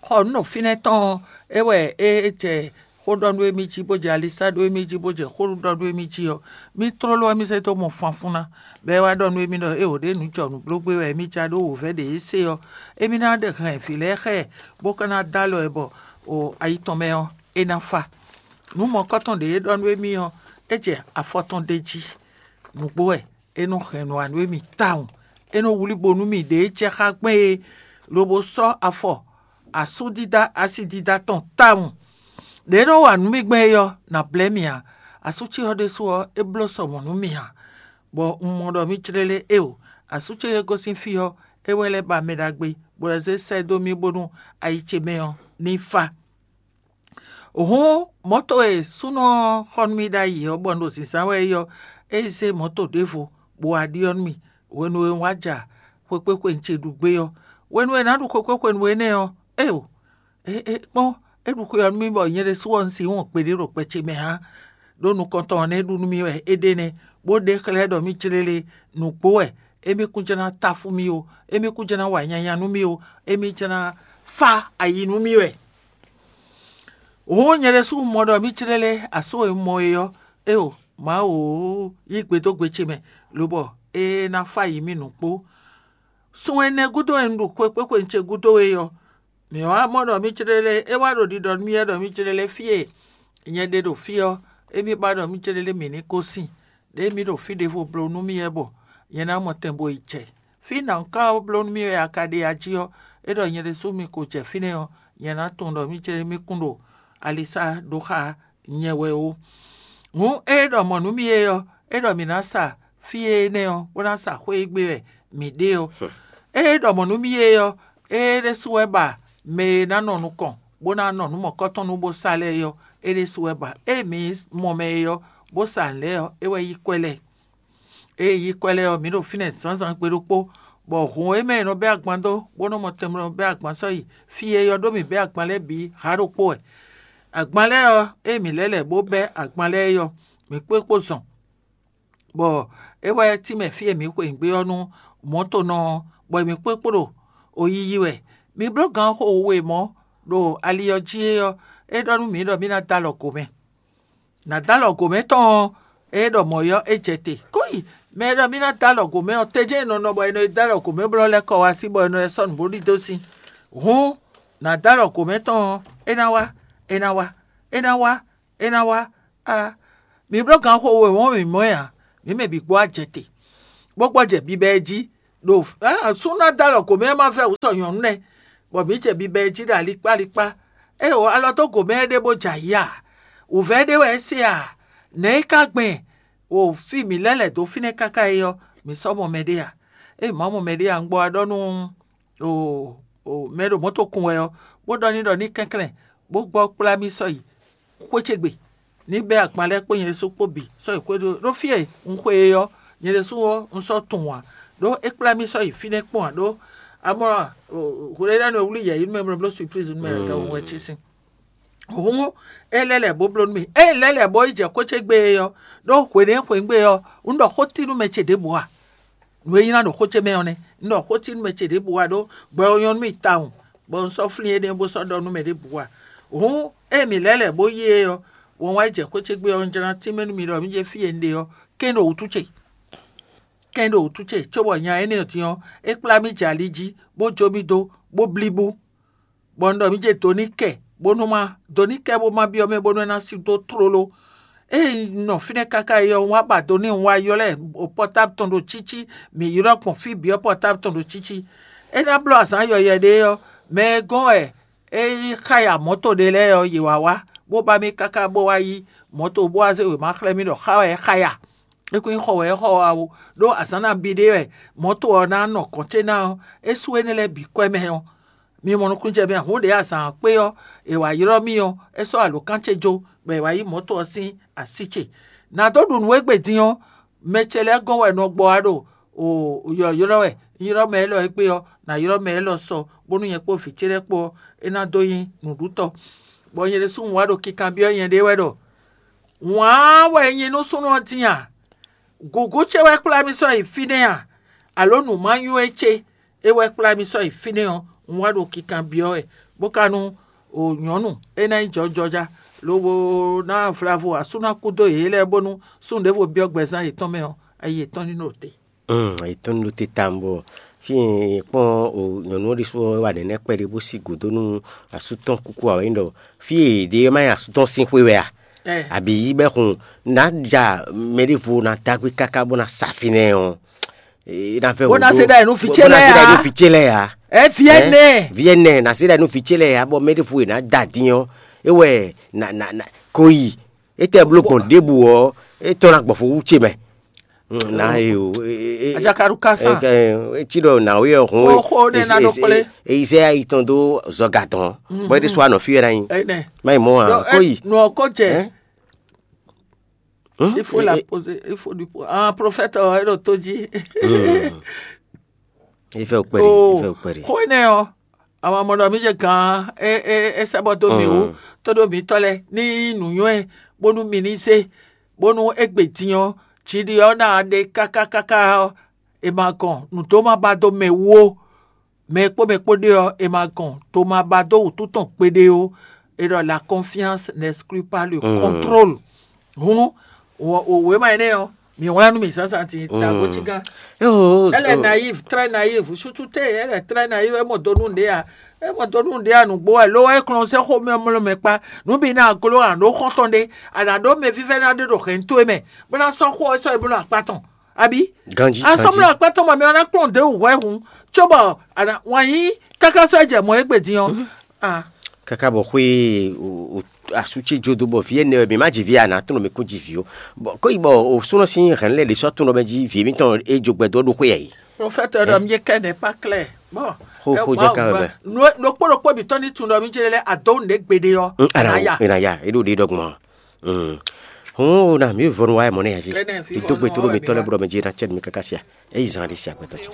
Xɔ nǔ ɖo fínɛ́ tɔn ɔ́, é wɛ é jɛ xó ɖɔ nú émí jí, bó jɛ alisá ɖó émí jí, bó jɛ xó ɖɔ nú émí jí ɔ́, mì tlóló ɔ́, mì zé dó mɔ fanfún ná, bɔ é wá ɖɔ nú émí ɖɔ éeǒ ɖě nǔ jɔ nǔblógbé wɛ émí ja ɖó wǒvɛ́ ɖě é se ɔ́, émí ná ɖe hɛn vǐ lɛ́ɛ xá ɛ, bó ka ná dó alɔ ɛ bɔ o ayi tɔn mɛ ɔ́, é ná fa. Nǔ mɔ̌kɔ́tɔn ɖě é ɖɔ nú émí ɔ́, é jɛ afɔ tɔn ɖ'é jí. Nǔgbó wɛ é nɔ hɛn nǔ wa nú émí tawun. É nɔ wlí bo nú mì ɖě jɛ xá gbɛn é, lobo sɔ́ afɔ asú dídá asi dídá tɔn tawun. Ɖě é nɔ wa nǔ mì gbɛn é ɔ́, nǎ blɛ́ mì ǎ. Asú ce ɔ́ ɖésú ɔ́, é bló sɔ mɔ̌ nú mì ǎ, bɔ un mɔ ɖɔ mì jlélé éeǒ. Asú ce e gosín fí ɔ́, é wɛ lɛ́ ba mɛ ɖagbe, bó lɛ́ zé sɛ́ dó mì bónú ayi ce mɛ ɔ́ ní fá. Hǔn mɔ̌to e súnnu ɔ́ xɔ nú mì ɖ'ayǐ ɔ́, bɔ un ɖo zǐnzán wɛ é ɔ́, é yi zé mɔ̌to ɖěvo bó wá ɖyɔ́ nú mì hwenu e un wá ja xwekpéxwenu ce ɖu gbé ɔ́. Hwenu e è nǎ ɖu xwekpéxwenu énɛ́ ɔ́, éeǒ, é é kpɔ́n, é ɖu xwe ɔ́ nú mì bɔ nyɛ ɖésú ɔ́, un sixú wɔn gbeɖé ɖo gbɛ ce mɛ ǎ. Ɖó nukɔntɔn ɔ́ nɛ́ ɖu nú mì wɛ é ɖe nɛ́, bó ɖe xlɛ́ ɖɔ mì jlélé nǔgbó wɛ, émí kún jɛ́n ná táfú mì ó, émí kún jɛ́n ná wa nyanya nú mì ó, émí jɛ́n ná fá ayi nú mì wɛ. Hǔn nyɛ ɖésú un mɔ ɖɔ mì jlélé asú e un mɔ é ɔ́, éeǒ, Mawu yí gbe dó gbe ce mɛ, lobɔ é ná fá yi mì nǔ kpó. Sun ɛnɛ gúdo e un ɖu xwekpéxwenu ce gúdo é ɔ́, mǐ wá mɔ ɖɔ mì céɖéɖé é wá ɖo ɖiɖɔ nú mì wɛ ɖɔ mì céɖéɖé fí e nyɛ ɖe ɖo fí ɔ́, émí ba ɖɔ mì céɖéɖé mǐ ní gosín, ɖěe mǐ ɖo fí ɖěvo bló nú mì wɛ bɔ nyɛ ná mɔ tɛn bo yi jɛ. Fí nǎ ka bló nú mì wɛ a ka ɖe a jí ɔ́, é ɖɔ nyɛ ɖésú mi ko jɛ fínɛ́ ɔ́, nyɛ ná tunwun ɖɔ mì céɖéɖé mì kún ɖo alisá ɖó xá nyɛ wɛ ó. Hǔn ée ɖɔ mɔ̌ nú mì é ɔ́, é ɖɔ mǐ ná sa fí énɛ́ ɔ́, bó ná sa xwé e gbe wɛ mǐ ɖe ɔ́. Ée ɖɔ mɔ̌ nú mì é ɔ́, é ɖésú wɛ ba mɛ e ná nɔ nukɔn, bó ná nɔ nǔ mɔ̌kɔtɔn nú bó sa lɛ́ɛ é ɔ́, é ɖésú wɛ ba. Ée mǐ mɔ mɛ é ɔ́, bó sa nǔ lɛ́ɛ ɔ́, é wɛ yí kwɛ́ lɛ́ɛ. Ée yí kwɛ́ lɛ́ɛ ɔ́, mǐ ɖo fínɛ́ zǎnzǎn gbe ɖokpó, bɔ hǔn e mɛ è nɔ bɛ́ agban dó, bó nɔ́ mɔ tɛnmɛ nɔ bɛ́ agban sɔ́ yi fí e yɔ ɖó mǐ bɛ́ agban lɛ́ɛ bǐ ha ɖokpó wɛ. Agban lɛ́ɛ ɔ́, ée mǐ lɛ́ lɛ̌ bó bɛ́ agban lɛ́ɛ é ɔ́, mǐ kpó kpó zɔn, bɔ é wɛ tínmɛ fí e mǐ xweyǐgbe ɔ́ nú mɔ̌tonɔ ɔ́, bɔ mǐ kpó kpó ɖo oyiyi wɛ. Mi bló gan xo we mɔ̌ ɖo ali ɔ́ jí é ɔ́, é ɖɔ nú mǐ ɖɔ mǐ ná dó alɔ gǒ mɛ. Nǎ dó alɔ gǒ mɛ tɔn ɔ́, é ɖɔ mɔ̌ ɔ́, é jɛ te. Kó yi, mɛ e ɖɔ mì ná dó alɔ gǒ mɛ ɔ́, tejɛ́n è nɔ nɔ bɔ è nɔ yi dó alɔ gǒ mɛ blɔ́ lɛ́ kɔ wá sí bɔ è nɔ lɛ́ sɔ́ nǔ bó ɖidó sín. Hǔn, nǎ dó alɔ gǒ mɛ tɔn ɔ́, é ná wá, é ná wá, é ná wá, é ná wá. A mi bló gan xo we wɔ̌n mǐ mɔ ɛ ǎ, mǐ mɛ bǐ gbɔ wá jɛ te, bó gbɔ jɛ bibɛ ɛ jí, ɖo súnnu ná dó alɔ gǒ mɛ ɔ́ má vɛ́ wǔ sɔ nyɔ̌nu nɛ́, bɔ mǐ jɛ bibɛ ɛ jí ɖo alikpá alikpá. Ée wǒ alɔ dó gǒ mɛ ɔ́ ɖé bó jɛ ayǐ a? Wǔvɛ́ ɖé wɛ é se a? Nɛ̌ é ka gbɛn? O fí mǐ lɛ́ lɛ̌ dó fínɛ́ káká é ɔ́, mǐ sɔ́ mɔ mɛɖé a? Ée mǐ ma mɔ mɛɖé a, un gbɔ wá ɖɔ nú o mɛ e ɖo mɔ̌ tɔn kun wɛ ɔ́, bó ɖɔ n'i ɖɔ ní kɛnklɛ́n, bó gbɔ kplá mì sɔ́ yi xwé ce gbe, ní bɛ́ agban lɛ́ɛ kpó nyɛ ɖésú kpó bǐ sɔ́ yi xwé ɖó ɖó fí e un xwe e ɔ́, nyɛ ɖésú ɔ́, un sɔ́ tunwun ǎ, ɖó é kplá mì sɔ́ yi fínɛ́ kpɔ́n ǎ, ɖó amɔ́ hwlɛ́ɖánú e wlí yɛ̌yi nú mɛ bló surprise nú mɛ ɖɔhun wɛ ce sín. Hǔn é lɛ́ lɛ̌ bó bló nú mì. Ée lɛ́ lɛ̌ bó yi jɛ xwé ce gbe é ɔ́, ɖó hwěɖée xweyǐgbe ɔ́, un ɖɔ xó tí nú mɛ ce ɖěbǔ a? Nǔ e nyí ná ɖo xó ce mɛ ɔ́ nɛ́. Un ɖɔ xó tí nú mɛ ce ɖěbǔ a, ɖó gbɛ ɔ́ nyɔ́ nú mì tawun, bɔ un sɔ́ flín énɛ́ bó sɔ́ ɖɔ nú mɛ ɖěbǔ a. Hǔn ée mǐ lɛ́ lɛ̌ bó yi é ɔ́, wɔn wá yi jɛ xwé ce gbe ɔ́, un jlá tínmɛ nú mi ɖɔ mǐ jɛ fí e un ɖe ɔ́, kɛ́n ɖo wǔtu ce. Kɛ́n ɖo wǔtu ce, cóbɔ nya énɛ́ ɔ́ din ɔ́, é kplá mì jɛ ali jí, bó jó mì dó, bó blí bú. Bɔ un ɖɔ mǐ jɛ do ní kɛ, bónú má do ní kɛ bó má byɔ́ mɛ bónú é ná sí dó tlóló. Ée un nɔ fínɛ́ káká é ɔ́, un wá ba do n'i, un wá ylɔ́ ɛ pɔtábu tɔn ɖo cící, mǐ ylɔ́ gbɔn fí bǐ ɔ́ pɔtábu tɔn ɖo cící. É ná bló azǎn yɔyɛ ɖé ɔ́, mɛ e gɔ́n wɛ é yí xáya mɔ̌to ɖé lɛ́ɛ ɔ́, yě wá wá, bó ba mì káká bó wá yí mɔ̌to bó wá zé wěma xlɛ́ mì ɖɔ xá wɛ é xáya. É kún nyí xɔ wɛ é xɔ wá ó, ɖó azǎn nabí ɖé wɛ mɔ̌to ɔ́ ná nɔ gɔ̌n ce ná ɔ́, é sú énɛ́ lɛ́ɛ bǐ kwɛ́ mɛ ɔ́, mi mɔ nukúnnú jɛ mɛ ǎ. Hǔn ɖě azǎn ɔ́ kpé ɔ́, è wǎ ylɔ́ mì ɔ́, é sɔ́ alǒkan ce jó, bɔ è wǎ yí mɔ̌to ɔ́ sín así ce. Nǎ dó ɖu nǔ égbé din ɔ́, mɛ ce lɛ́ɛ gɔ́n wɛ nɔ gbɔ wá ɖo yɔ̌ylɔ́ wɛ, un ylɔ́ mɛ élɔ́ égbé ɔ́, nǎ ylɔ́ mɛ élɔ́ sɔ, bónú nyɛ kpó vǐ ce lɛ́ɛ kpó ɔ́, é ná dó nyí nǔɖútɔ́. Bɔ nyɛ ɖésú un wá ɖo kinkanbyɔ́ nyɛɖée wɛ ɖɔ: Wǎn wɛ nyí nú súnnu ɔ́ din a? Gǔgú ce wɛ kplá mì sɔ́ yi fínɛ́ a? Alǒ nǔmanyú e ce é wɛ kplá mì sɔ́ yi fínɛ́ ɔ́, un wá ɖo kinkanbyɔ́ wɛ, bó ka nú o nyɔ̌nu é ná nyí jɔjɔja, lobo ná vlavo asú ná kú dó yě lɛ́ɛ bónú súnnu ɖěvo byɔ́ gbɛzán yětɔn mɛ ɔ́, ayi yětɔn ní nɔ te. Etɔ́n ɖo te tawun bɔ fí e kpɔ́n o nyɔ̌nu ɔ́ ɖésú ɔ́ wá nɛ̌nɛ́ kpɛɖé bó sí gǔdo nú asú tɔn kúkú ǎ, é nyí ɖɔ fí e è ɖe ɔ́ má nyí asú tɔn sín xwé wɛ a? Abǐ bɛ́ hun nǎ ja mɛ ɖěvo ná dó agbé káká bó ná sa fínɛ́ ɔ́, é ná vɛ́ Bó ná se ɖa nǔ vǐ ce lɛ́ɛ ǎ. Vǐ ce lɛ́ɛ ǎ. Ɛ vǐ ɛnɛ. Vǐ ɛnɛ ná se ɖa nǔ vǐ ce lɛ́ɛ ǎ, bɔ mɛ ɖěvo e ná da dín ɔ́, é wɛ ná ná ná ko yi. Étɛ́ bló gbɔn ɖěbǔ ɔ́, é tɔ́n ná gbɔn fó wú ce mɛ. Na e o. Ajakaɖu kásá. Etí ɖɔ nǎwe ɔ́ hɔn. Xó xó ɖé ná ɖó kplé. Eyizɛ ayi tɔn dó zɔga tɔn. Bɔ é ɖésú anɔ fí wɛ ná nyi. Má yi mɔ ǎ kó yi. Nɔ kó jɛ. Il faut la poser, il faut du ah prophète ɔ́ é ɖo tó jí. Ifɛ ukpɛri, ifɛ ukpɛri. Xó énɛ́ ɔ́, àwọn ọmọ mi jẹ gán é é é sɛ́ bɔ dó mì wú, tó ɖó mǐtɔn lɛ́ɛ ní nǔnywɛ́ bónú mi ní zé, bónú égbè din ɔ́, jiɖi ɔ́ ná ɖe káká káká ɔ́, è ma gɔn nǔ dó má ba dó mɛ wú ó. Mɛ e kpó mɛ kpó ɖe ɔ́, è ma gɔn dó má ba dó wǔtu tɔn gbeɖé ó. È ɖɔ la confiance n'exclut pas le contrôle. Hǔn wěma énɛ́ ɔ́, mǐ wlán nú mì zǎnzǎn din ta bó cí gán. Elle est naïve, très naïve. Surtout te, elle est très naïve. É mɔ dó nú ɖě a, é mɔ dó nú ɖě a nǔgbó wɛ. Lo é kplɔn sɛ́ xó mɛ mlɔ́ mɛ kpá. Nǔ bǐ ná gló a nǎ ɖó xɔ́ntɔn ɖé, a nǎ ɖó mɛ vívɛ́ná ɖé ɖo hɛ̌nto e mɛ, bó ná sɔ́ xó ɔ́ sɔ́ yi bó ná akpá tɔn. Abi. Ganji. Asɔmlɔ akpá tɔn mɔ mɛ ɔ́ ná kplɔn ɖě wú hwɛ hǔn, cóbɔ wǎn yí káká sɔ́ jɛ mɔ égbé din ɔ́. Kaka bɔ xwe asú ce jó dó bɔ vǐ énɛ́ ɔ́, mǐ má ji vǐ a nǎ tlɔ́n mǐ kún ji vǐ ó. Bɔ kó yi bɔ o súnɔ sín hɛ̌n lɛ́ɛ ɖě sɔ́ tunɔ mɛ jí vǐ émítɔn e jó gbɛ dó ɖó xwé yɛ yi. Prophète ɖɔ mi kɛ n'est pas clair. Bon. Xó xó jɛ kan bɛ. Ɖokpó ɖokpó mǐtɔn ní tunɔ mi jɛ lɛ adó nǔ ɖé gbeɖé ɔ́. Ana ya. Ena ya, e ɖo ɖe ɖɔ gbɔn. Hɔn na mi vɔnu wa mɔ ne ya ji. Di dogbe to ɖo mi tɔ lɛ bɔ mɛ ji na cɛ mi kaka sia. Eyi zan ɖe sia gbɛtɔ cɛ.